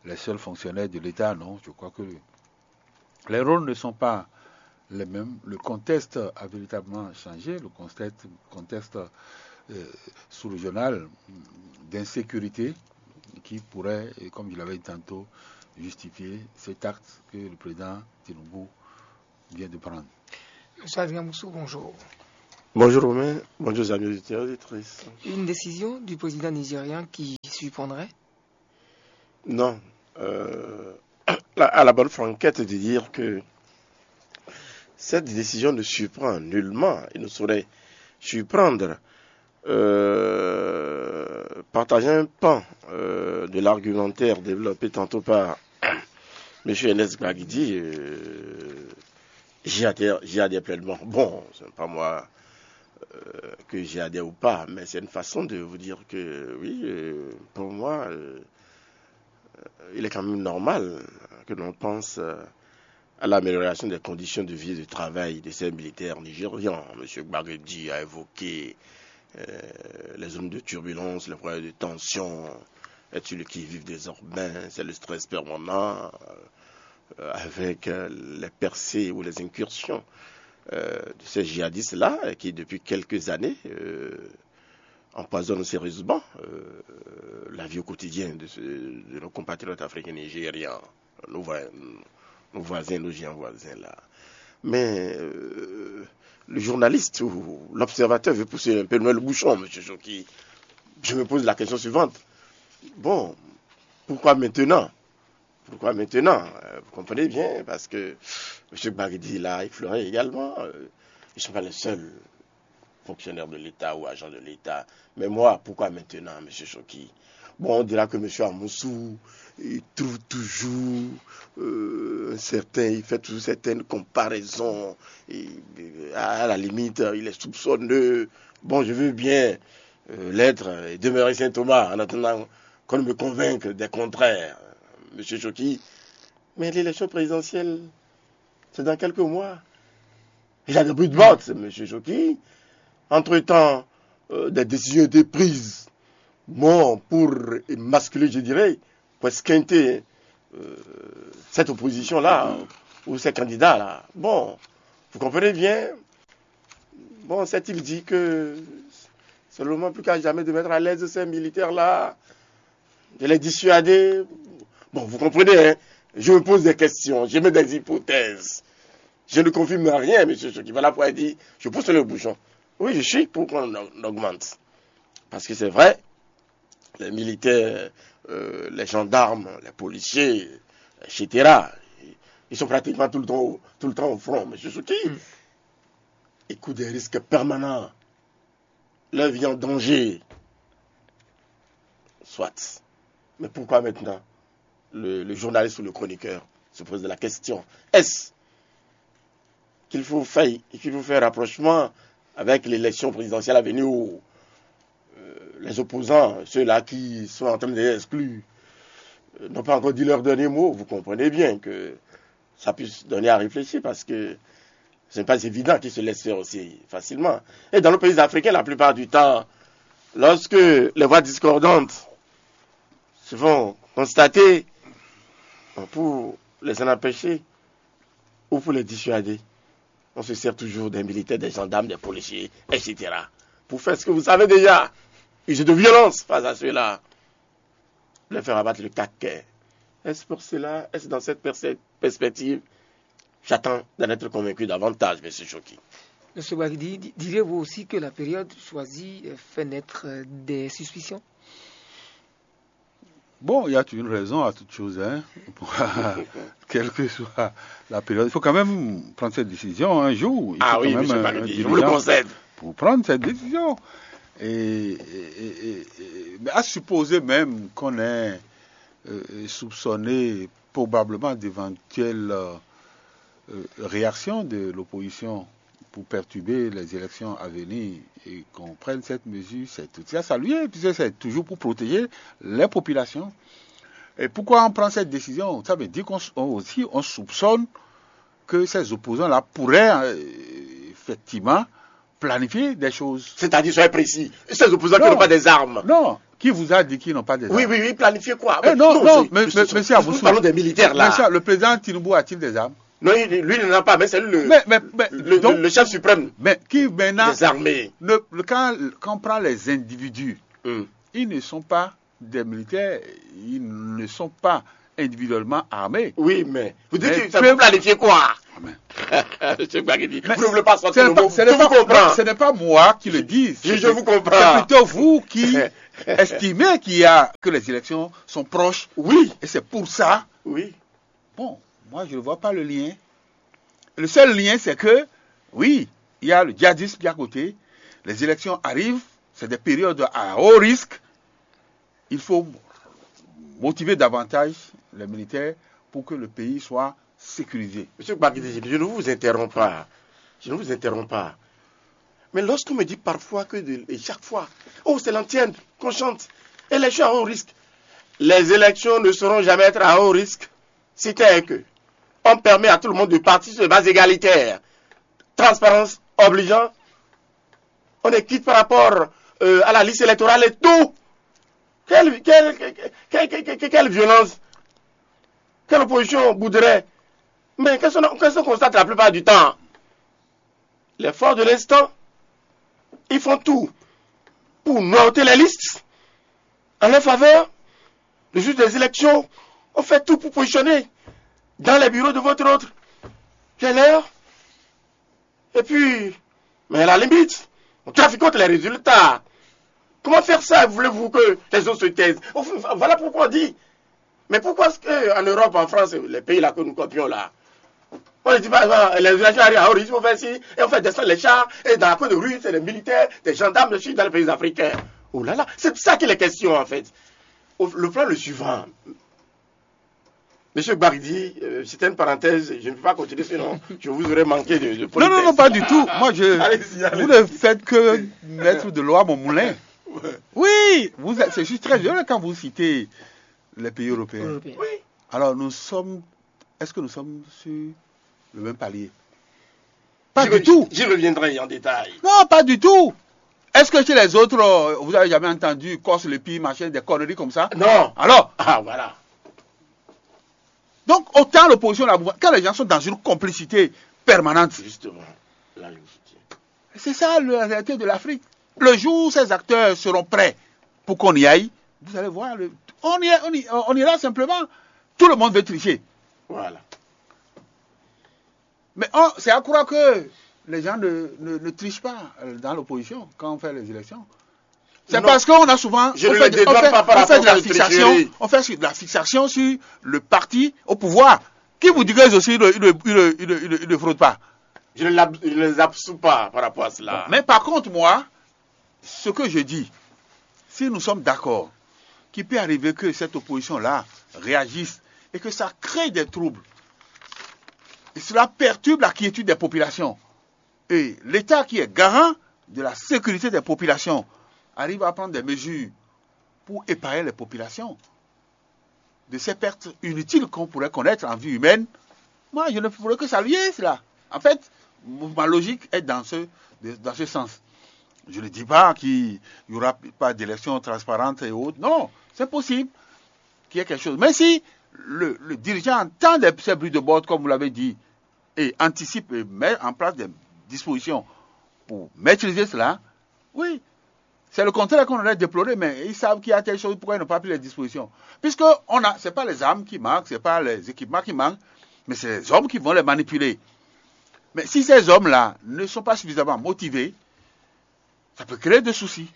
les seuls fonctionnaires de l'État, non. Je crois que les rôles ne sont pas les mêmes. Le contexte a véritablement changé, le contexte, contexte euh, sous-régional d'insécurité qui pourrait, et comme je l'avais dit tantôt, justifier cet acte que le président Tinubu vient de prendre. Monsieur Adrien Moussou, bonjour. Bonjour Romain, bonjour amis auditeurs et auditrices. Une décision du président nigérian qui surprendrait? Non. Euh, à la bonne franquette de dire que cette décision ne surprend nullement et ne saurait surprendre. Euh, partager un pan euh, de l'argumentaire développé tantôt par M. Ernest Gbagidi, euh, j'y adhère, j'y adhère pleinement. Bon, ce n'est pas moi euh, que j'y adhère ou pas, mais c'est une façon de vous dire que oui, euh, pour moi, euh, il est quand même normal que l'on pense euh, à l'amélioration des conditions de vie et de travail de ces militaires nigérians. M. Gbagidi a évoqué euh, les zones de turbulence, les problèmes de tension, être sur le qui-vive désormais, c'est le stress permanent euh, avec euh, les percées ou les incursions euh, de ces djihadistes-là qui, depuis quelques années, euh, empoisonnent sérieusement euh, la vie au quotidien de, ce- de nos compatriotes africains et nigériens, nos, voi- nos voisins, nos géants voisins là. Mais euh, le journaliste ou l'observateur veut pousser un peu loin le bouchon, M. Choki. Je me pose la question suivante. Bon, pourquoi maintenant? Pourquoi maintenant? Euh, vous comprenez bien, parce que M. Gbagidi là, il fleurit également. Euh, ils ne sont pas les seuls fonctionnaires de l'État ou agents de l'État. Mais moi, pourquoi maintenant, M. Choki? Bon, on dira que M. Amoussou, il trouve toujours euh, un certain, il fait toujours certaines comparaisons. Et, euh, à la limite, il est soupçonneux. Bon, je veux bien euh, l'être et demeurer Saint Thomas en attendant qu'on ne me convainque des contraires, M. Choki. Mais l'élection présidentielle, c'est dans quelques mois. Il y a des bruits de bottes, M. Choki. Entre-temps, euh, des décisions ont été prises. Bon, pour émasculer, je dirais, pour esquinter euh, cette opposition-là, ou ces candidats-là. Bon, vous comprenez bien. Bon, s'est-il dit que c'est le moment plus qu'à jamais de mettre à l'aise ces militaires-là, de les dissuader? Bon, vous comprenez, hein? Je me pose des questions, je mets des hypothèses. Je ne confirme rien, M. Choki. Voilà pourquoi il dit, je pousse le bouchon. Oui, je suis pour qu'on augmente. Parce que c'est vrai, les militaires, euh, les gendarmes, les policiers, et cetera, ils sont pratiquement tout le temps au, tout le temps au front. M. Choki, ils courent des risques permanents. Leur vie en danger. Soit. Mais pourquoi maintenant le, le journaliste ou le chroniqueur se pose la question? Est-ce qu'il faut faire, qu'il faut faire rapprochement avec l'élection présidentielle à venir où euh, les opposants, ceux-là qui sont en train d'être exclus, euh, n'ont pas encore dit leur dernier mot? Vous comprenez bien que ça puisse donner à réfléchir parce que ce n'est pas évident qu'ils se laissent faire aussi facilement. Et dans nos pays africains, la plupart du temps, lorsque les voix discordantes se font constater, pour les en empêcher ou pour les dissuader, on se sert toujours des militaires, des gendarmes, des policiers, et cetera. Pour faire ce que vous savez déjà, user de violence face à ceux-là, leur faire abattre le caquet. Est-ce pour cela, est-ce dans cette perspective? J'attends d'en être convaincu davantage, M. Choki. M. Bagidi, diriez-vous aussi que la période choisie euh, fait naître euh, des suspicions? Bon, il y a une raison à toute chose, hein. Quelle que soit la période, il faut quand même prendre cette décision un jour. Il faut Ah oui, quand même M. Bagidi, je vous le concède. Pour prendre cette décision. Et, et, et, et, mais à supposer même qu'on est euh, soupçonné probablement d'éventuelles euh, euh, réactions de l'opposition pour perturber les élections à venir et qu'on prenne cette mesure, c'est tout à saluer, puisque c'est toujours pour protéger les populations. Et pourquoi on prend cette décision? Ça veut dire qu'on aussi on soupçonne que ces opposants-là pourraient euh, effectivement planifier des choses. C'est-à-dire, soyez précis. Ces opposants qui Non. n'ont pas des armes. Non. Qui vous a dit qu'ils n'ont pas des Oui, armes? oui, oui, planifier quoi? Eh, non, non, non, mais, mais, mais, monsieur Aboussou, nous parlons des militaires là. Monsieur, le président Tinubu a-t-il des armes? Non, lui, il n'en a pas, mais c'est lui le, mais, mais, mais, le, donc, le, chef suprême. Mais qui maintenant, des armées. Ne, quand, quand on prend les individus, hmm. Ils ne sont pas Des militaires, ils ne sont pas individuellement armés. Oui, mais vous dites Mais que ça peu- peut planifier quoi? Amen. Monsieur Gbagidi, Mais vous ne voulez pas sortir ce le n'est pas, mot. ce n'est Je vous pas- comprends. ce n'est pas moi qui le dis. Je, C'est je vous comprends. c'est plutôt vous qui estimez qu'il y a, que les élections sont proches. Oui, Et c'est pour ça. Oui. Bon, moi, je ne vois pas le lien. Le seul lien, c'est que, oui, il y a le djihadisme qui est à côté. Les élections arrivent. C'est des périodes à haut risque. Il faut motiver davantage les militaires pour que le pays soit sécurisé. Monsieur Gbagidi, je ne vous interromps pas. Je ne vous interromps pas. Mais lorsqu'on me dit parfois que de- et chaque fois, oh, c'est l'antienne qu'on chante, élection à haut risque. Les élections ne seront jamais être à haut risque. C'est-à-dire que on permet à tout le monde de partir sur des bases égalitaires. Transparence obligeant. On est quitte par rapport euh, à la liste électorale et tout. Quelle, quelle, quelle, quelle- quelle- quelle- quelle violence? Quelle opposition voudrait? Mais qu'est-ce qu'on qu'est-ce qu'on constate la plupart du temps? Les forces de l'instant, ils font tout pour noter les listes en leur faveur. Le jour des élections, on fait tout pour positionner dans les bureaux de vote et autres. Quelle heure? Et puis, mais à la limite, on trafique contre les résultats. Comment faire ça? Voulez-vous que les autres se taisent? Enfin, voilà pourquoi on dit. Mais pourquoi est-ce qu'en Europe, en France, les pays là que nous copions là, on ne dit pas, ah, les élections arrivent à haut risque, on fait ci, et on fait descendre les chars, et dans la cour de rue, c'est des militaires, des gendarmes, je suis dans les pays africains. Oh là là, c'est de ça qu'il est question en fait. Au- le plan le suivant. Monsieur Gbagidi, euh, c'était une parenthèse, je ne peux pas continuer sinon je vous aurais manqué de, de Non, non, non, politesse. Pas du tout. Moi, je, Allez-y, allez-y. Vous ne faites que mettre de l'eau à mon moulin. Oui, vous êtes- c'est juste très violent quand vous citez les pays européens. Européen. Oui. Alors, nous sommes. Est-ce que nous sommes sur le même palier? Pas J'y du re- tout. J'y reviendrai en détail. Non, pas du tout. Est-ce que chez les autres, euh, vous avez jamais entendu Corse le pire, machin, des conneries comme ça? Non. Alors, Ah, voilà. Donc, autant l'opposition, la mouvance, quand les gens sont dans une complicité permanente, Justement. Là, je vous dis. C'est ça la réalité de l'Afrique. Le jour où ces acteurs seront prêts pour qu'on y aille, vous allez voir, le- on, y est- on y- on ira simplement. Tout le monde veut tricher. Voilà. Mais on- c'est à croire que les gens ne, ne- ne trichent pas euh, dans l'opposition quand on fait les élections. C'est Non. Parce qu'on a souvent Je on ne fait, le de- dédouane on fait- pas par on fait rapport de la à la fixation, tricherie. On fait de la fixation sur le parti au pouvoir. Qui vous dit que les autres, ils ne, ils ne- ils ne- ils ne- ils ne- ils ne fraudent pas? Je ne, l'ab- je ne les absous pas par rapport à cela. Mais par contre, moi, ce que je dis, si nous sommes d'accord qu'il peut arriver que cette opposition-là réagisse et que ça crée des troubles, et cela perturbe la quiétude des populations. Et l'État qui est garant de la sécurité des populations arrive à prendre des mesures pour épargner les populations de ces pertes inutiles qu'on pourrait connaître en vie humaine. Moi, je ne ferai que saluer cela. En fait, ma logique est dans ce, dans ce sens. Je ne dis pas qu'il n'y aura pas d'élection transparente et autres. Non, c'est possible qu'il y ait quelque chose. Mais si le, le dirigeant entend des, ces bruits de bord, comme vous l'avez dit, et anticipe et met en place des dispositions pour maîtriser cela, oui, c'est le contraire qu'on aurait déploré, mais ils savent qu'il y a telle chose, pourquoi ils n'ont pas pris les dispositions? Puisque on a, c'est pas les armes qui manquent, c'est pas les équipements qui manquent, mais c'est les hommes qui vont les manipuler. Mais si ces hommes-là ne sont pas suffisamment motivés, ça peut créer des soucis.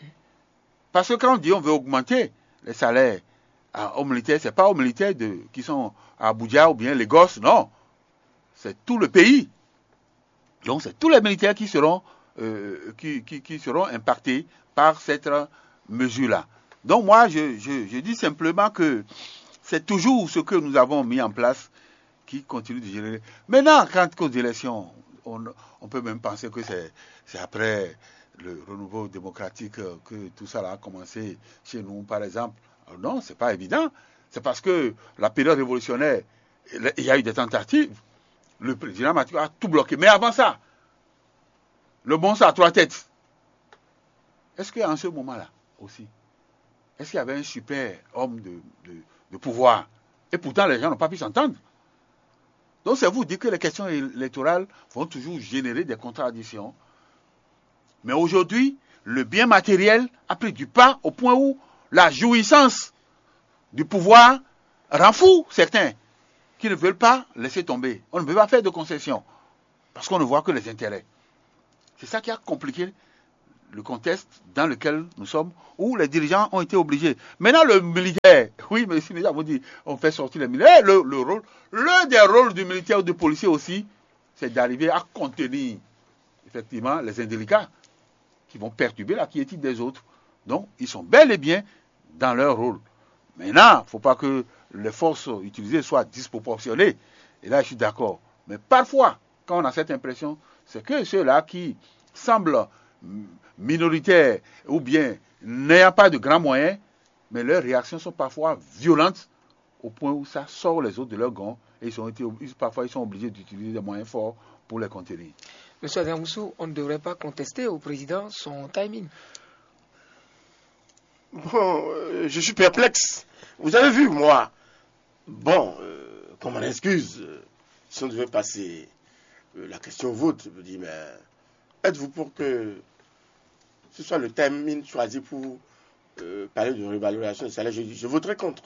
Parce que quand on dit on veut augmenter les salaires à- aux militaires, c'est pas aux militaires de, qui sont à Abuja ou bien Lagos, non. C'est tout le pays. Donc c'est tous les militaires qui seront, euh, qui, qui- qui seront impactés par cette mesure-là. Donc moi, je, je- je dis simplement que c'est toujours ce que nous avons mis en place qui continue de générer. Maintenant, quand aux élections, on, on peut même penser que c'est c'est après le renouveau démocratique euh, que tout ça là a commencé chez nous, par exemple. Alors non, c'est pas évident. C'est parce que la période révolutionnaire, il y a eu des tentatives. Le président Mathieu a tout bloqué. Mais avant ça, le monstre à trois têtes. Est-ce qu'en ce moment-là aussi, est-ce qu'il y avait un super homme de, de- de pouvoir? Et pourtant, les gens n'ont pas pu s'entendre. Donc, c'est vous dire que les questions électorales vont toujours générer des contradictions. Mais aujourd'hui, le bien matériel a pris du pas au point où La jouissance du pouvoir rend fou certains qui ne veulent pas laisser tomber. On ne peut pas faire de concession parce qu'on ne voit que les intérêts. C'est ça qui a compliqué le contexte dans lequel nous sommes, où les dirigeants ont été obligés. Maintenant, le militaire, oui, mais si déjà vous dit, on fait sortir les militaires, le, le rôle, l'un des rôles du militaire ou du policier aussi, c'est d'arriver à contenir effectivement les indélicats qui vont perturber la quiétude des autres. Donc, ils sont bel et bien dans leur rôle. Maintenant, il ne faut pas que les forces utilisées soient disproportionnées. Et là, je suis d'accord. Mais parfois, quand on a cette impression, c'est que ceux-là qui semblent minoritaires ou bien n'ayant pas de grands moyens, mais leurs réactions sont parfois violentes au point où ça sort les autres de leur gond et ils sont été, parfois ils sont obligés d'utiliser des moyens forts pour les contenir. Monsieur Adamoussou, on ne devrait pas contester au président son timing. Bon, euh, je suis perplexe. Vous avez vu, moi. Bon, euh, comme on excuse, euh, si on devait passer euh, la question au vote, je me dis, mais êtes-vous pour que ce soit le timing choisi pour euh, parler de révalorisation des salaires ? Je, je voterai contre.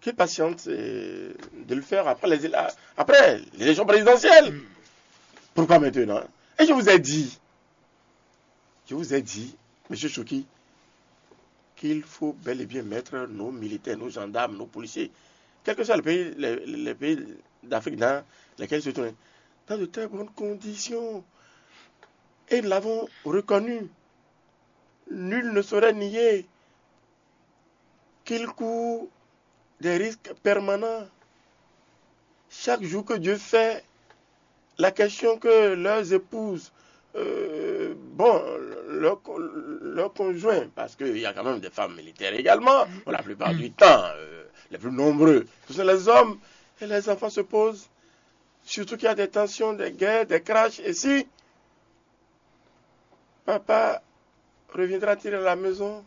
Qui patiente euh, de le faire après les, après l'élection présidentielle ? Pourquoi maintenant ? Et je vous ai dit, je vous ai dit, monsieur Chouki, qu'il faut bel et bien mettre nos militaires, nos gendarmes, nos policiers, quels que soient les pays, les, les pays d'Afrique dans lesquels ils se trouvent, dans de très bonnes conditions. Et nous l'avons reconnu. Nul ne saurait nier qu'ils courent des risques permanents. Chaque jour que Dieu fait, la question que leurs épouses, euh, bon, leur, leur conjoint, parce qu'il y a quand même des femmes militaires également, pour la plupart du temps, euh, les plus nombreux, ce sont les hommes, et les enfants se posent, surtout qu'il y a des tensions, des guerres, des crashs, et si papa reviendra-t-il à la maison ?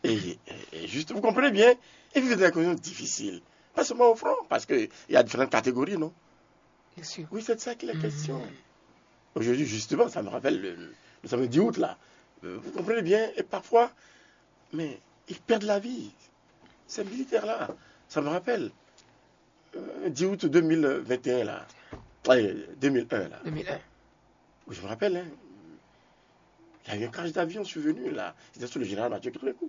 Et, et juste, vous comprenez bien, ils vivent dans des conditions difficiles. Pas seulement au front, parce qu'il y a différentes catégories, non ? Bien sûr. Oui, c'est de ça qu'il est question. Aujourd'hui, justement, ça me rappelle le, le samedi dix août, là. Euh, vous comprenez bien, et parfois, mais ils perdent la vie. Ces militaires-là, ça me rappelle. Euh, dix août deux mille vingt et un, là. Allez, deux mille un, là. deux mille un. Oui, je me rappelle, hein. Il y a eu un crash d'avion survenu, là. C'était sous le général Mathieu Kérékou.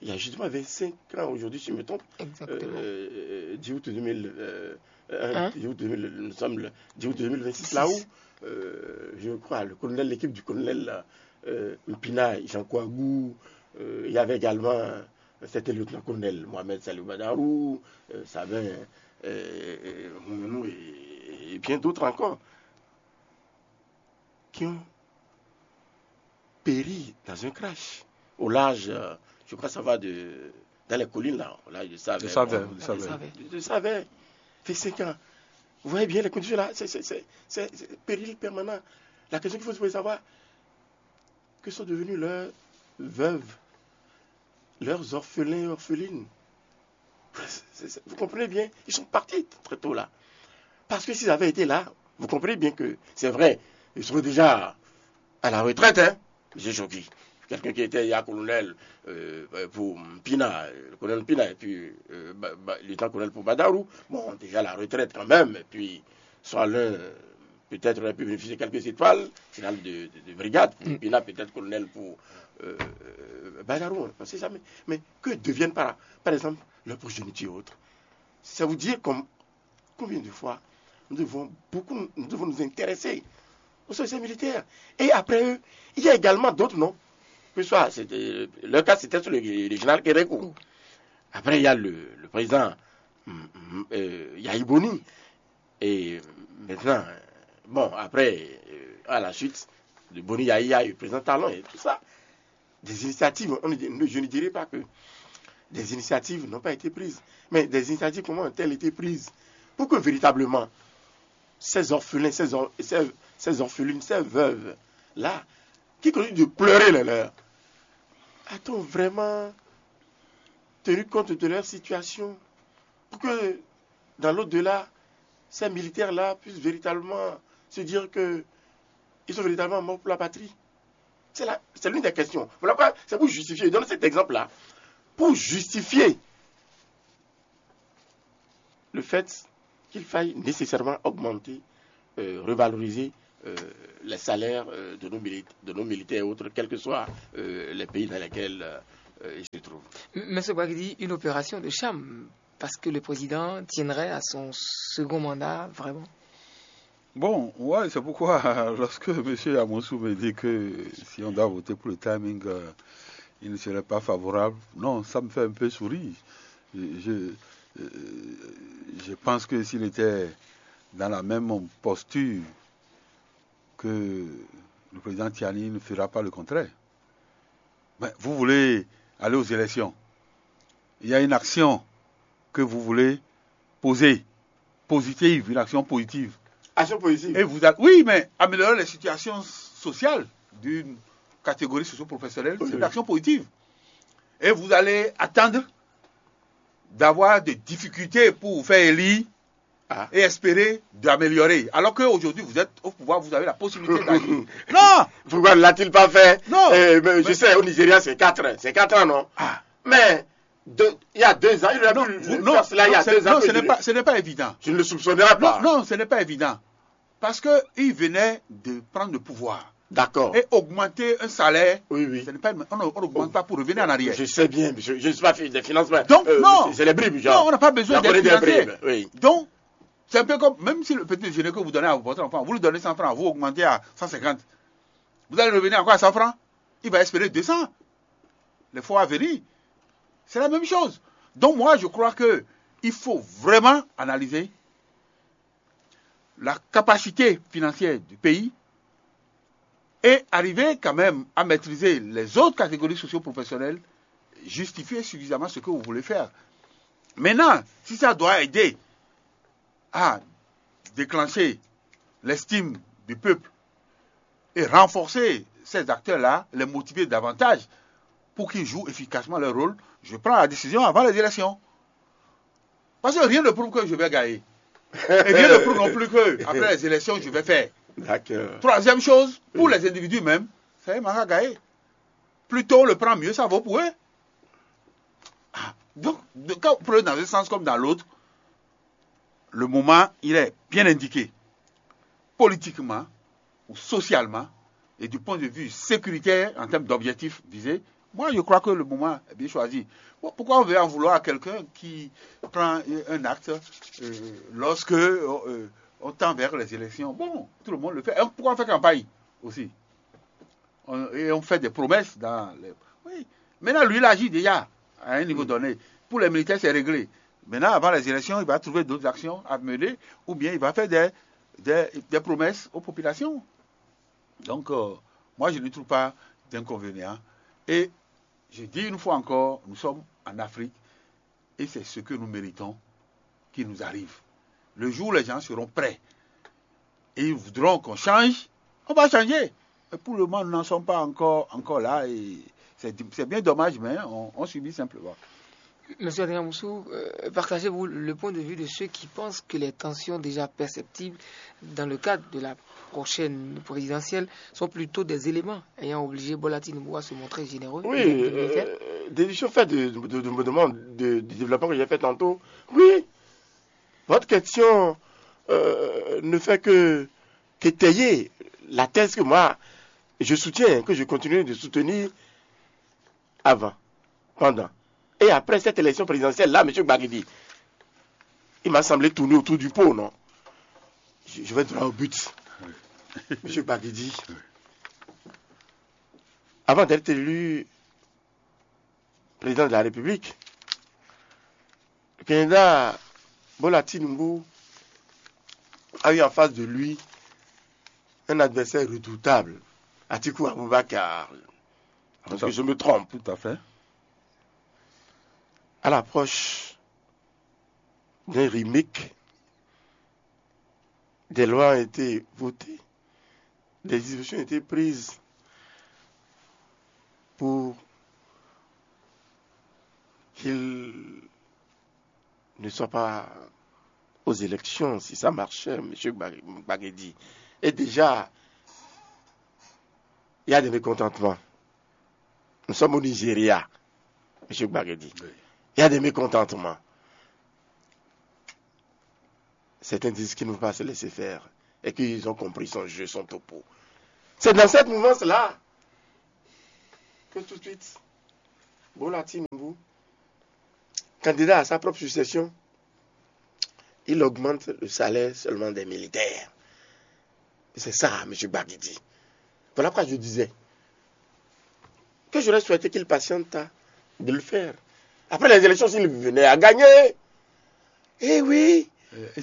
Il y a justement vingt-cinq ans aujourd'hui, si je me trompe. Exactement. Euh, dix août deux mille, euh, euh, Hein dix août deux mille, nous sommes le dix août deux mille vingt-six, là où, euh, je crois, le colonel, l'équipe du colonel là, euh, Mpina, Jean Kouagou, euh, il y avait également, euh, c'était le lieutenant-colonel Mohamed Salou Badarou, euh, Sabin, euh, euh, Moumonou et, et bien d'autres encore, qui ont péri dans un crash au large, euh, je crois que ça va de, dans les collines là, au large de Savè. De Savè, Bon, de Savè. Savè. De Savè. Fait cinq ans. Vous voyez bien les conditions là, c'est, c'est, c'est, c'est, c'est péril permanent. La question qu'il faut se poser, savoir que sont devenus leurs veuves, leurs orphelins et orphelines. C'est, c'est, vous comprenez bien, ils sont partis très tôt là. Parce que s'ils avaient été là, vous comprenez bien que c'est vrai, ils seraient déjà à la retraite, hein, monsieur Choki. Quelqu'un qui était hier colonel euh, pour Pina, le colonel Pina, et puis euh, Ba- Ba- lieutenant-colonel pour Badarou. Bon, déjà la retraite quand même, et puis soit l'un peut-être aurait pu bénéficier de quelques étoiles, général de, de- de brigade, pour Pina peut-être colonel pour euh, Badarou, on ne sait jamais. Mais que deviennent par, par exemple leur progéniture et autres ? Ça vous dire comme, combien de fois nous devons, beaucoup, nous devons nous intéresser aux sociétés militaires. Et après eux, il y a également d'autres noms. Que ce soit, c'était- le cas c'était sur le, le général Kérékou. Après, il y a le, le président hum, hum, euh, Yahi Boni. Et maintenant, euh, bon, après, euh, à la suite de Boni Yahi, il y a eu le président Talon et tout ça. Des initiatives, on ne- je ne dirais pas que des initiatives n'ont pas été prises, mais des initiatives comment ont-elles été prises pour que véritablement ces orphelins, ces, or- ces, ces orphelines, ces veuves-là, qui continuent de pleurer les leurs, a-t-on vraiment tenu compte de leur situation pour que dans l'au-delà, ces militaires-là puissent véritablement se dire que ils sont véritablement morts pour la patrie ? C'est la- c'est l'une des questions. Voilà pourquoi c'est pour justifier. Je donne cet exemple-là. Pour justifier le fait qu'il faille nécessairement augmenter, euh, revaloriser, euh, les salaires, euh, de, nos mili- de nos militaires et autres, quels que soient, euh, les pays dans lesquels, euh, ils se trouvent. M- Monsieur Bagdi, une opération de charme, parce que le président tiendrait à son second mandat, vraiment. Bon, ouais, c'est pourquoi lorsque M. Amoussou me dit que si on doit voter pour le timing, euh, il ne serait pas favorable, non, ça me fait un peu sourire. Je, je, euh, je pense que s'il était dans la même posture que le président Tiani, il ne fera pas le contraire. Mais vous voulez aller aux élections. Il y a une action que vous voulez poser, positive, une action positive. Action positive. Et vous allez, oui, mais améliorer les situations sociales d'une catégorie socio-professionnelle, c'est une action positive. Et vous allez attendre d'avoir des difficultés pour vous faire élire et espérer d'améliorer. Alors qu'aujourd'hui, vous êtes au pouvoir, vous avez la possibilité d'agir. Non. Pourquoi ne l'a-t-il pas fait? Non. Euh, mais je sais, au Nigeria, c'est quatre ans. C'est quatre ans, non? Mais de- il y a deux ans, il aurait Non, pu vous- le non, faire cela il y a non, c'est- deux ans. non, Que ce je, n'est ne- pas, ce n'est pas évident. je ne le soupçonnerais pas. Non, non, ce n'est pas évident. Parce qu'il venait de prendre le pouvoir. D'accord. Et augmenter un salaire, Oui, oui. ce n'est pas, on on n'augmente pas pour revenir en arrière. Je sais bien, je, je ne suis pas fi- des finances, mais, Donc, euh, non. c'est les bribes, Non, genre. On n'a pas besoin J'en connais d'être des financier. Bribes, oui. Donc, c'est un peu comme, même si le petit déjeuner que vous donnez à votre enfant, vous lui donnez cent francs, vous augmentez à cent cinquante. Vous allez revenir encore à cent francs, il va espérer deux cents. Les fois à venir, c'est la même chose. Donc, moi, je crois que il faut vraiment analyser la capacité financière du pays et arriver quand même à maîtriser les autres catégories socio-professionnelles, justifier suffisamment ce que vous voulez faire. Maintenant, si ça doit aider à déclencher l'estime du peuple et renforcer ces acteurs-là, les motiver davantage pour qu'ils jouent efficacement leur rôle, je prends la décision avant les élections. Parce que rien ne prouve que je vais gagner. Et rien ne prouve non plus que après les élections, je vais faire. D'accord. Troisième chose, pour les individus même, ça y est, Mara a gagné. Plus tôt on le prend, mieux ça vaut pour eux. Ah, donc, de- quand vous prenez dans un sens comme dans l'autre, le moment, il est bien indiqué, politiquement ou socialement, et du point de vue sécuritaire, en termes d'objectifs visés. Moi, je crois que le moment est bien choisi. Bon, pourquoi on veut en vouloir à quelqu'un qui prend un acte, euh, lorsque euh, on tend vers les élections? Bon, tout le monde le fait. Et pourquoi on fait campagne aussi? On- et on fait des promesses dans les... Oui. Maintenant, lui, il agit déjà à un niveau donné. Pour les militaires, c'est réglé. Maintenant, avant les élections, il va trouver d'autres actions à mener ou bien il va faire des, des, des promesses aux populations. Donc, euh, moi, je ne trouve pas d'inconvénient. Et je dis une fois encore, nous sommes en Afrique et c'est ce que nous méritons qui nous arrive. Le jour où les gens seront prêts et ils voudront qu'on change, on va changer. Mais pour le moment, nous n'en sommes pas encore, encore là et c'est c'est bien dommage, mais on, on subit simplement. Monsieur Adrien Moussou, euh, partagez-vous le point de vue de ceux qui pensent que les tensions déjà perceptibles dans le cadre de la prochaine présidentielle sont plutôt des éléments ayant obligé Bola Tinubu à se montrer généreux Oui, vis-à-vis des militaires? Euh, déduction faite de, de, de, me demande de- du développement que j'ai fait tantôt. Oui, votre question euh, ne fait que qu'étayer la thèse que moi, je soutiens, que je continue de soutenir avant, pendant. Et après cette élection présidentielle-là, M. Gbagidi, il m'a semblé tourner autour du pot, non? Je, je vais droit au but. M. Gbagidi, avant d'être élu président de la République, le candidat Bola Tinubu a eu en face de lui un adversaire redoutable, Atiku Abubakar. Parce que je me trompe. Tout à fait. À l'approche d'un remake, des lois ont été votées, des dispositions ont été prises pour qu'il ne soit pas aux élections, si ça marchait, M. Gbagedi. Et déjà, Il y a des mécontentements. Nous sommes au Nigeria, monsieur Gbagedi. Il y a des mécontentements. Certains disent qu'ils ne vont pas se laisser faire et qu'ils ont compris son jeu, son topo. C'est dans cette mouvance-là que tout de suite, Bola Tinubu, candidat à sa propre succession, il augmente le salaire seulement des militaires. Et c'est ça, monsieur Gbagidi. Voilà pourquoi je disais que j'aurais souhaité qu'il patiente à de le faire. Après les élections, s'il venait à gagner, eh oui,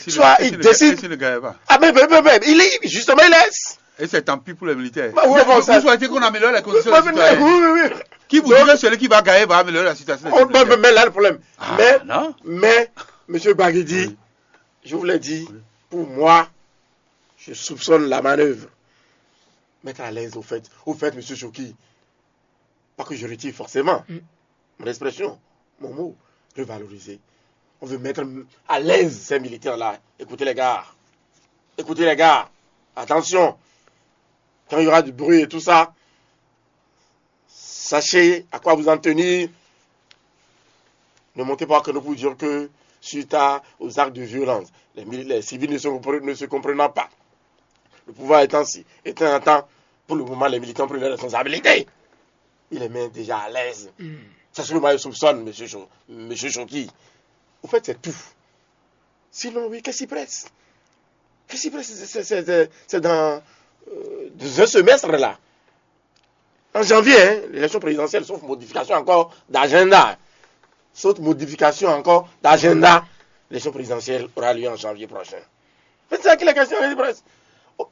soit il décide. Il ne gagne pas. Ah, mais, mais, mais, mais, il est, justement, il laisse. Et c'est tant pis pour les militaires. Bah, oui, bon, vous ça- souhaitez qu'on améliore les conditions Oui, des citoyens. oui, oui, oui. Qui vous dit que celui qui va gagner va améliorer la situation des Oh, mais, militaires. mais, mais là, le problème. Ah, mais, non. mais, monsieur Gbagidi, Oui. je vous l'ai dit, pour moi, je soupçonne la manœuvre. Mettre à l'aise au fait, au fait, monsieur Choki. Pas que je retire forcément mon expression, mon mot, revaloriser. On veut mettre à l'aise ces militaires-là. Écoutez les gars. Écoutez les gars. Attention. Quand il y aura du bruit et tout ça, sachez à quoi vous en tenir. Ne montez pas que nous vous dire que suite à, aux actes de violence, les, mili- les civils ne se, compre- ne se comprenant pas, le pouvoir étant si, étant en temps, pour le moment, les militants prennent leurs responsabilités. Il les met déjà à l'aise. C'est ce que moi je soupçonne, monsieur, Cho- monsieur Choki. Au fait, c'est tout. Sinon, oui, qu'est-ce qui presse? Qu'est-ce qui presse? C'est- C'est c'est- c'est dans, euh, dans un semestre là. En janvier, hein, l'élection présidentielle, sauf modification encore d'agenda. Sauf modification encore d'agenda. L'élection présidentielle aura lieu en janvier prochain. C'est ça qu'il est question, il presse. Au-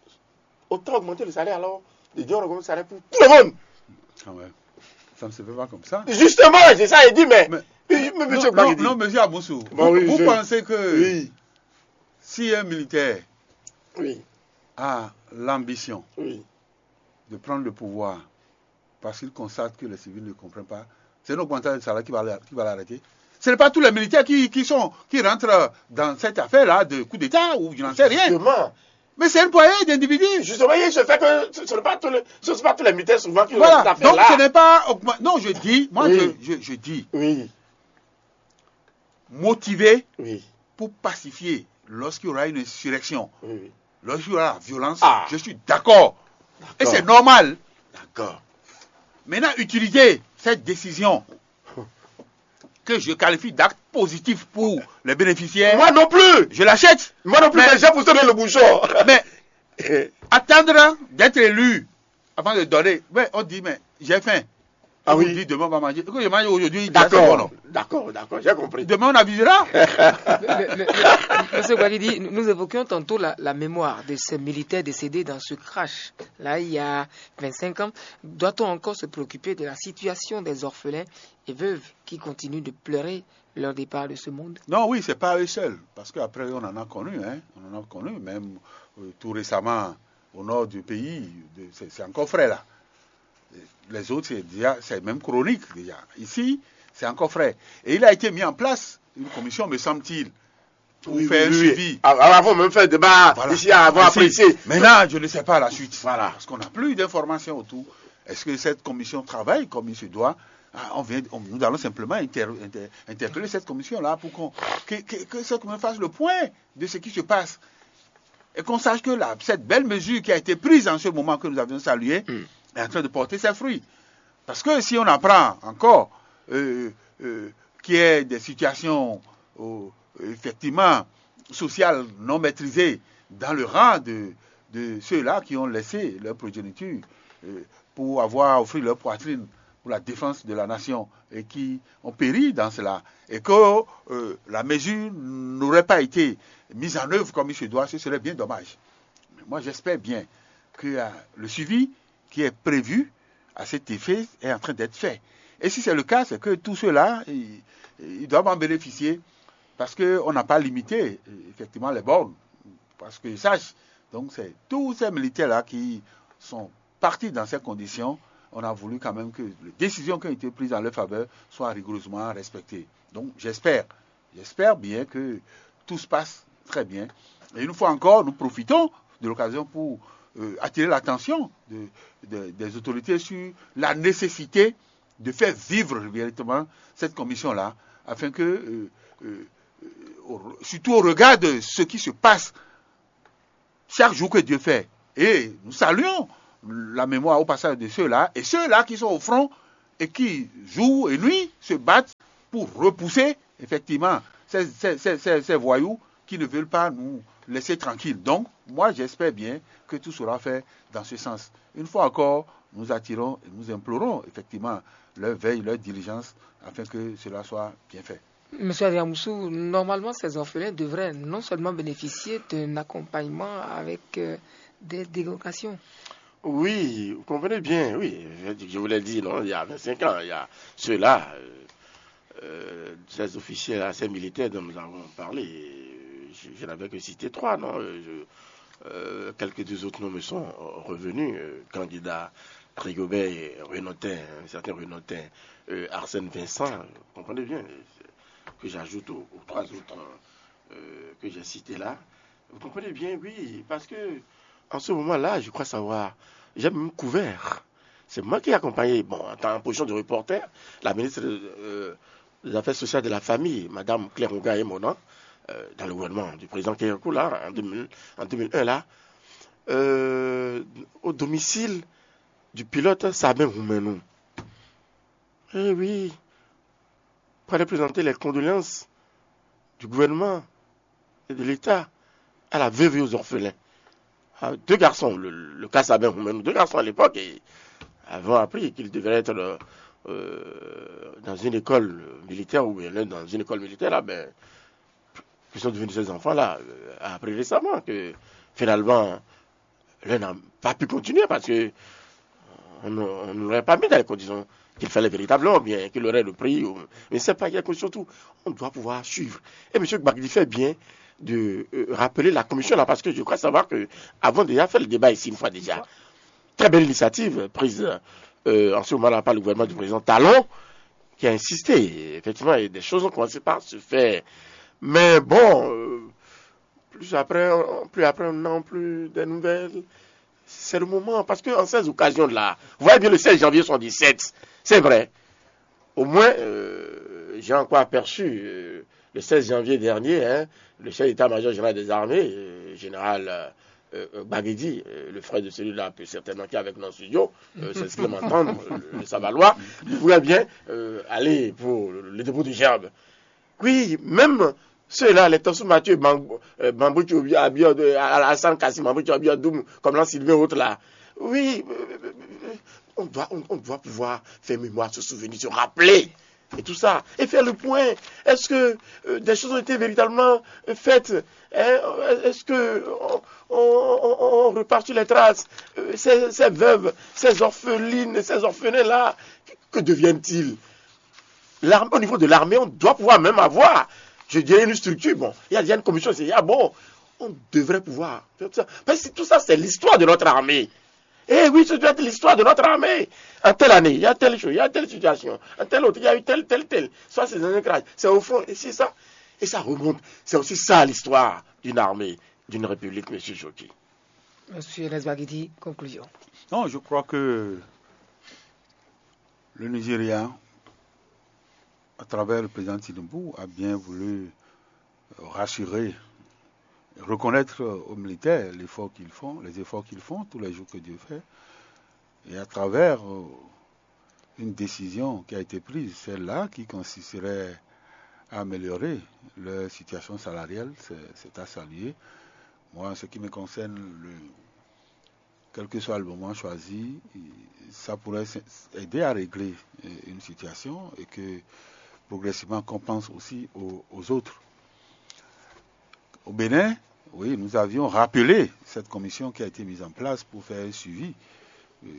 Autant augmenter le salaire alors, de dire on augmente le salaire pour tout le monde. Ah ouais. Ça ne se fait pas comme ça. Justement, c'est ça, il dit, mais, Mais- mais, mais monsieur non, Gbagidi. Non, non, monsieur Aboussou, Bon, vous, oui, vous je- pensez que Oui, si un militaire oui, a l'ambition oui. de prendre le pouvoir parce qu'il constate que les civils ne comprennent pas, c'est une augmentation de salaire qui va, l'a- qui va l'arrêter. Ce n'est pas tous les militaires qui, qui sont, qui rentrent dans cette affaire-là de coup d'État ou je n'en sais rien. Justement, Mais c'est une poignée d'individus. Justement, il se fait que ce ne sont pas tous les, ce sont pas tous les militaires souvent qui ont Voilà. cette Donc ce affaire-là. N'est pas augmen- Non, je dis, moi Oui. je, je- je dis, Oui, motivé oui. Pour pacifier lorsqu'il y aura une insurrection, Oui, oui. Lorsqu'il y aura la violence, Ah. Je suis d'accord. Et D'accord. C'est normal. D'accord. Maintenant, utiliser cette décision que je qualifie d'acte positif pour les bénéficiaires, Moi non plus. Je l'achète. Moi non plus, Mais- mais j'ai poussé le bouchon. Mais attendre d'être élu avant de donner. Mais on dit, mais j'ai faim. Ah On oui. Dit, demain on va manger. Écoute, je mange aujourd'hui, c'est bon, non? D'accord, d'accord, d'accord, j'ai compris. Demain on avisera. Le- le- le- Monsieur Guagui dit, nous évoquions tantôt la, la mémoire de ces militaires décédés dans ce crash, là, il y a vingt-cinq ans. Doit-on encore se préoccuper de la situation des orphelins et veuves qui continuent de pleurer leur départ de ce monde? Non, oui, c'est pas eux seuls. Parce qu'après, on en a connu. Hein. On en a connu, même euh, tout récemment, au nord du pays. De- C'est c'est encore frais là. Les autres, c'est déjà, c'est même chronique déjà. Ici, c'est encore frais. Et il a été mis en place une commission, me semble-t-il, pour Oui, faire oui, un oui. suivi. Ah, ah, avant même faire débat, Voilà. ici, avant Merci. Apprécier. Maintenant, je ne sais pas la suite. Voilà. Parce qu'on n'a plus d'informations autour. Est-ce que cette commission travaille comme il se doit? Ah, on vient, on- nous allons simplement inter- inter- interpeller cette commission-là pour qu'on, que, que- que cette commission fasse le point de ce qui se passe. Et qu'on sache que la- cette belle mesure qui a été prise en ce moment que nous avions saluée est en train de porter ses fruits. Parce que si on apprend encore euh, euh, qu'il y a des situations euh, effectivement sociales non maîtrisées dans le rang de, de ceux-là qui ont laissé leur progéniture euh, pour avoir offert leur poitrine pour la défense de la nation et qui ont péri dans cela, et que euh, la mesure n'aurait pas été mise en œuvre comme il se doit, ce serait bien dommage. Mais moi, j'espère bien que euh, le suivi qui est prévu à cet effet est en train d'être fait. Et si c'est le cas, c'est que tous ceux-là, ils, ils doivent en bénéficier parce qu'on n'a pas limité euh, effectivement les bornes. Parce que je sache, donc c'est tous ces militaires-là qui sont partis dans ces conditions. On a voulu quand même que les décisions qui ont été prises en leur faveur soient rigoureusement respectées. Donc j'espère, j'espère bien que tout se passe très bien. Et une fois encore, nous profitons de l'occasion pour euh, attirer l'attention de- de- des autorités sur la nécessité de faire vivre véritablement cette commission-là, afin que, euh, euh, euh, au- surtout au regard de ce qui se passe chaque jour que Dieu fait. Et nous saluons la mémoire au passage de ceux-là et ceux-là qui sont au front et qui, jour et nuit, se battent pour repousser effectivement ces, ces- ces- ces- ces voyous qui ne veulent pas nous laisser tranquilles. Donc, moi, j'espère bien que tout sera fait dans ce sens. Une fois encore, nous attirons et nous implorons effectivement leur veille, leur diligence, afin que cela soit bien fait. Monsieur Adriamoussou, normalement, ces orphelins devraient non seulement bénéficier d'un accompagnement avec euh, des dérogations. Oui, vous comprenez bien, oui. Je, je vous l'ai dit, non, il y a vingt-cinq ans, il y a ceux-là, euh, euh, ces officiers-là, ces militaires dont nous avons parlé, euh, je, je n'avais que cité trois, non. Euh, je- euh, quelques deux autres noms me sont euh, revenus. Euh, candidat Rigobert et Renaudin, un certain Renaudin, euh, Arsène Vincent, euh, vous comprenez bien, euh, que j'ajoute aux, aux trois autres euh, que j'ai cités là. Vous comprenez bien, oui, parce que en ce moment-là, je crois savoir, j'ai même couvert. C'est moi qui ai accompagné, bon, en tant- en position de reporter, la ministre euh, des Affaires sociales de la Famille, Madame Claire Rouga et Monan, euh, dans le gouvernement du président Keyoko, là, en, deux mille, en deux mille un, là, euh, au domicile du pilote Sabin Houmenou. Eh oui, pour aller présenter les condoléances du gouvernement et de l'État à la veuve et aux orphelins. Ah, deux garçons, le, le cas Sabin Houmenou, deux garçons à l'époque, et avaient appris qu'ils devaient être euh, euh, dans une école militaire ou bien l'un dans une école militaire, là, ben, qui sont devenus ces enfants-là, euh, a appris récemment que finalement, l'un n'a pas pu continuer parce que on ne- on ne l'aurait pas mis dans les conditions qu'il fallait véritablement, ou bien qu'il aurait le prix. Ou- mais c'est pas quelque chose surtout. On doit pouvoir suivre. Et M. Gbagdi fait bien de euh, rappeler la commission là, parce que je crois savoir que avant déjà fait le débat ici une fois déjà. Très belle initiative prise euh, en ce moment-là par le gouvernement du président Talon, qui a insisté. Effectivement, et des choses ont commencé par se faire. Mais bon, euh, plus après, on- plus après, on n'a plus de nouvelles. C'est le moment, parce qu'en ces occasions-là, vous voyez bien le seize janvier soixante-dix-sept, c'est vrai. Au moins, euh, j'ai encore aperçu euh, le seize janvier dernier, hein, le chef d'état-major général des armées, euh, général euh, euh, Baguedi, euh, le frère de celui-là, peut certainement qui est avec nous en studio, euh, c'est ce qu'il m'entend, euh, le Savalois, il pourrait bien euh, aller pour le dépôt du gerbe. Oui, même ceux-là, les Tossou Mathieu, Bambou Tchobia, Hassan Kassim, Bambou Tchobia Doum, comme l'an Sylvain et autres là. Oui, euh, euh, euh, on doit, on, on doit pouvoir faire mémoire, se souvenir, se rappeler et tout ça, et faire le point. Est-ce que euh, des choses ont été véritablement euh, faites? Hein? Est-ce que on, on- on- on repart sur les traces? Euh, ces, ces veuves, ces orphelines, ces orphelins-là, que deviennent-ils? L'armée, au niveau de l'armée, on doit pouvoir même avoir, je dirais, une structure. Bon, il y a déjà une commission, c'est ah bon, on devrait pouvoir faire tout ça. Parce que tout ça, c'est l'histoire de notre armée. Eh oui, ça doit être l'histoire de notre armée. En telle année, il y a telle chose, il y a telle situation. En telle autre, il y a eu telle, telle, telle. Soit c'est dans un crash, c'est au fond, et c'est ça. Et ça remonte. C'est aussi ça l'histoire d'une armée, d'une république, monsieur Jockey. Monsieur Nesbagidi, conclusion. Non, je crois que le Nigeria, à travers le président Tinubu, a bien voulu rassurer, reconnaître aux militaires l'effort qu'ils font, les efforts qu'ils font tous les jours que Dieu fait, et à travers euh, une décision qui a été prise, celle-là qui consisterait à améliorer leur situation salariale, c'est c'est à saluer. Moi, en ce qui me concerne, le, quel que soit le moment choisi, ça pourrait s- aider à régler euh, une situation et que progressivement qu'on pense aussi aux, aux autres. Au Bénin, oui, nous avions rappelé cette commission qui a été mise en place pour faire un suivi euh,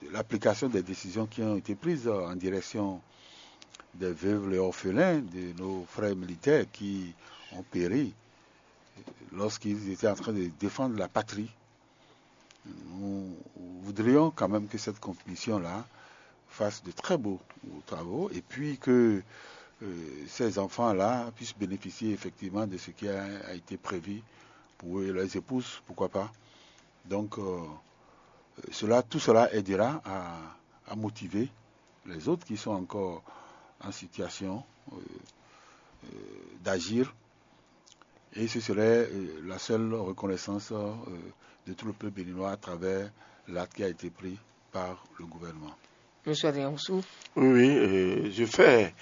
de l'application des décisions qui ont été prises en direction des veuves et orphelins de nos frères militaires qui ont péri lorsqu'ils étaient en train de défendre la patrie. Nous voudrions quand même que cette commission-là fasse de très beaux travaux et puis que euh, ces enfants-là puissent bénéficier effectivement de ce qui a, a été prévu pour eux et leurs épouses, pourquoi pas. Donc, euh, cela, tout cela aidera à, à motiver les autres qui sont encore en situation euh, euh, d'agir. Et ce serait euh, la seule reconnaissance euh, de tout le peuple béninois à travers l'acte qui a été pris par le gouvernement. Monsieur Adrien Roussou. Oui, oui, euh, je fais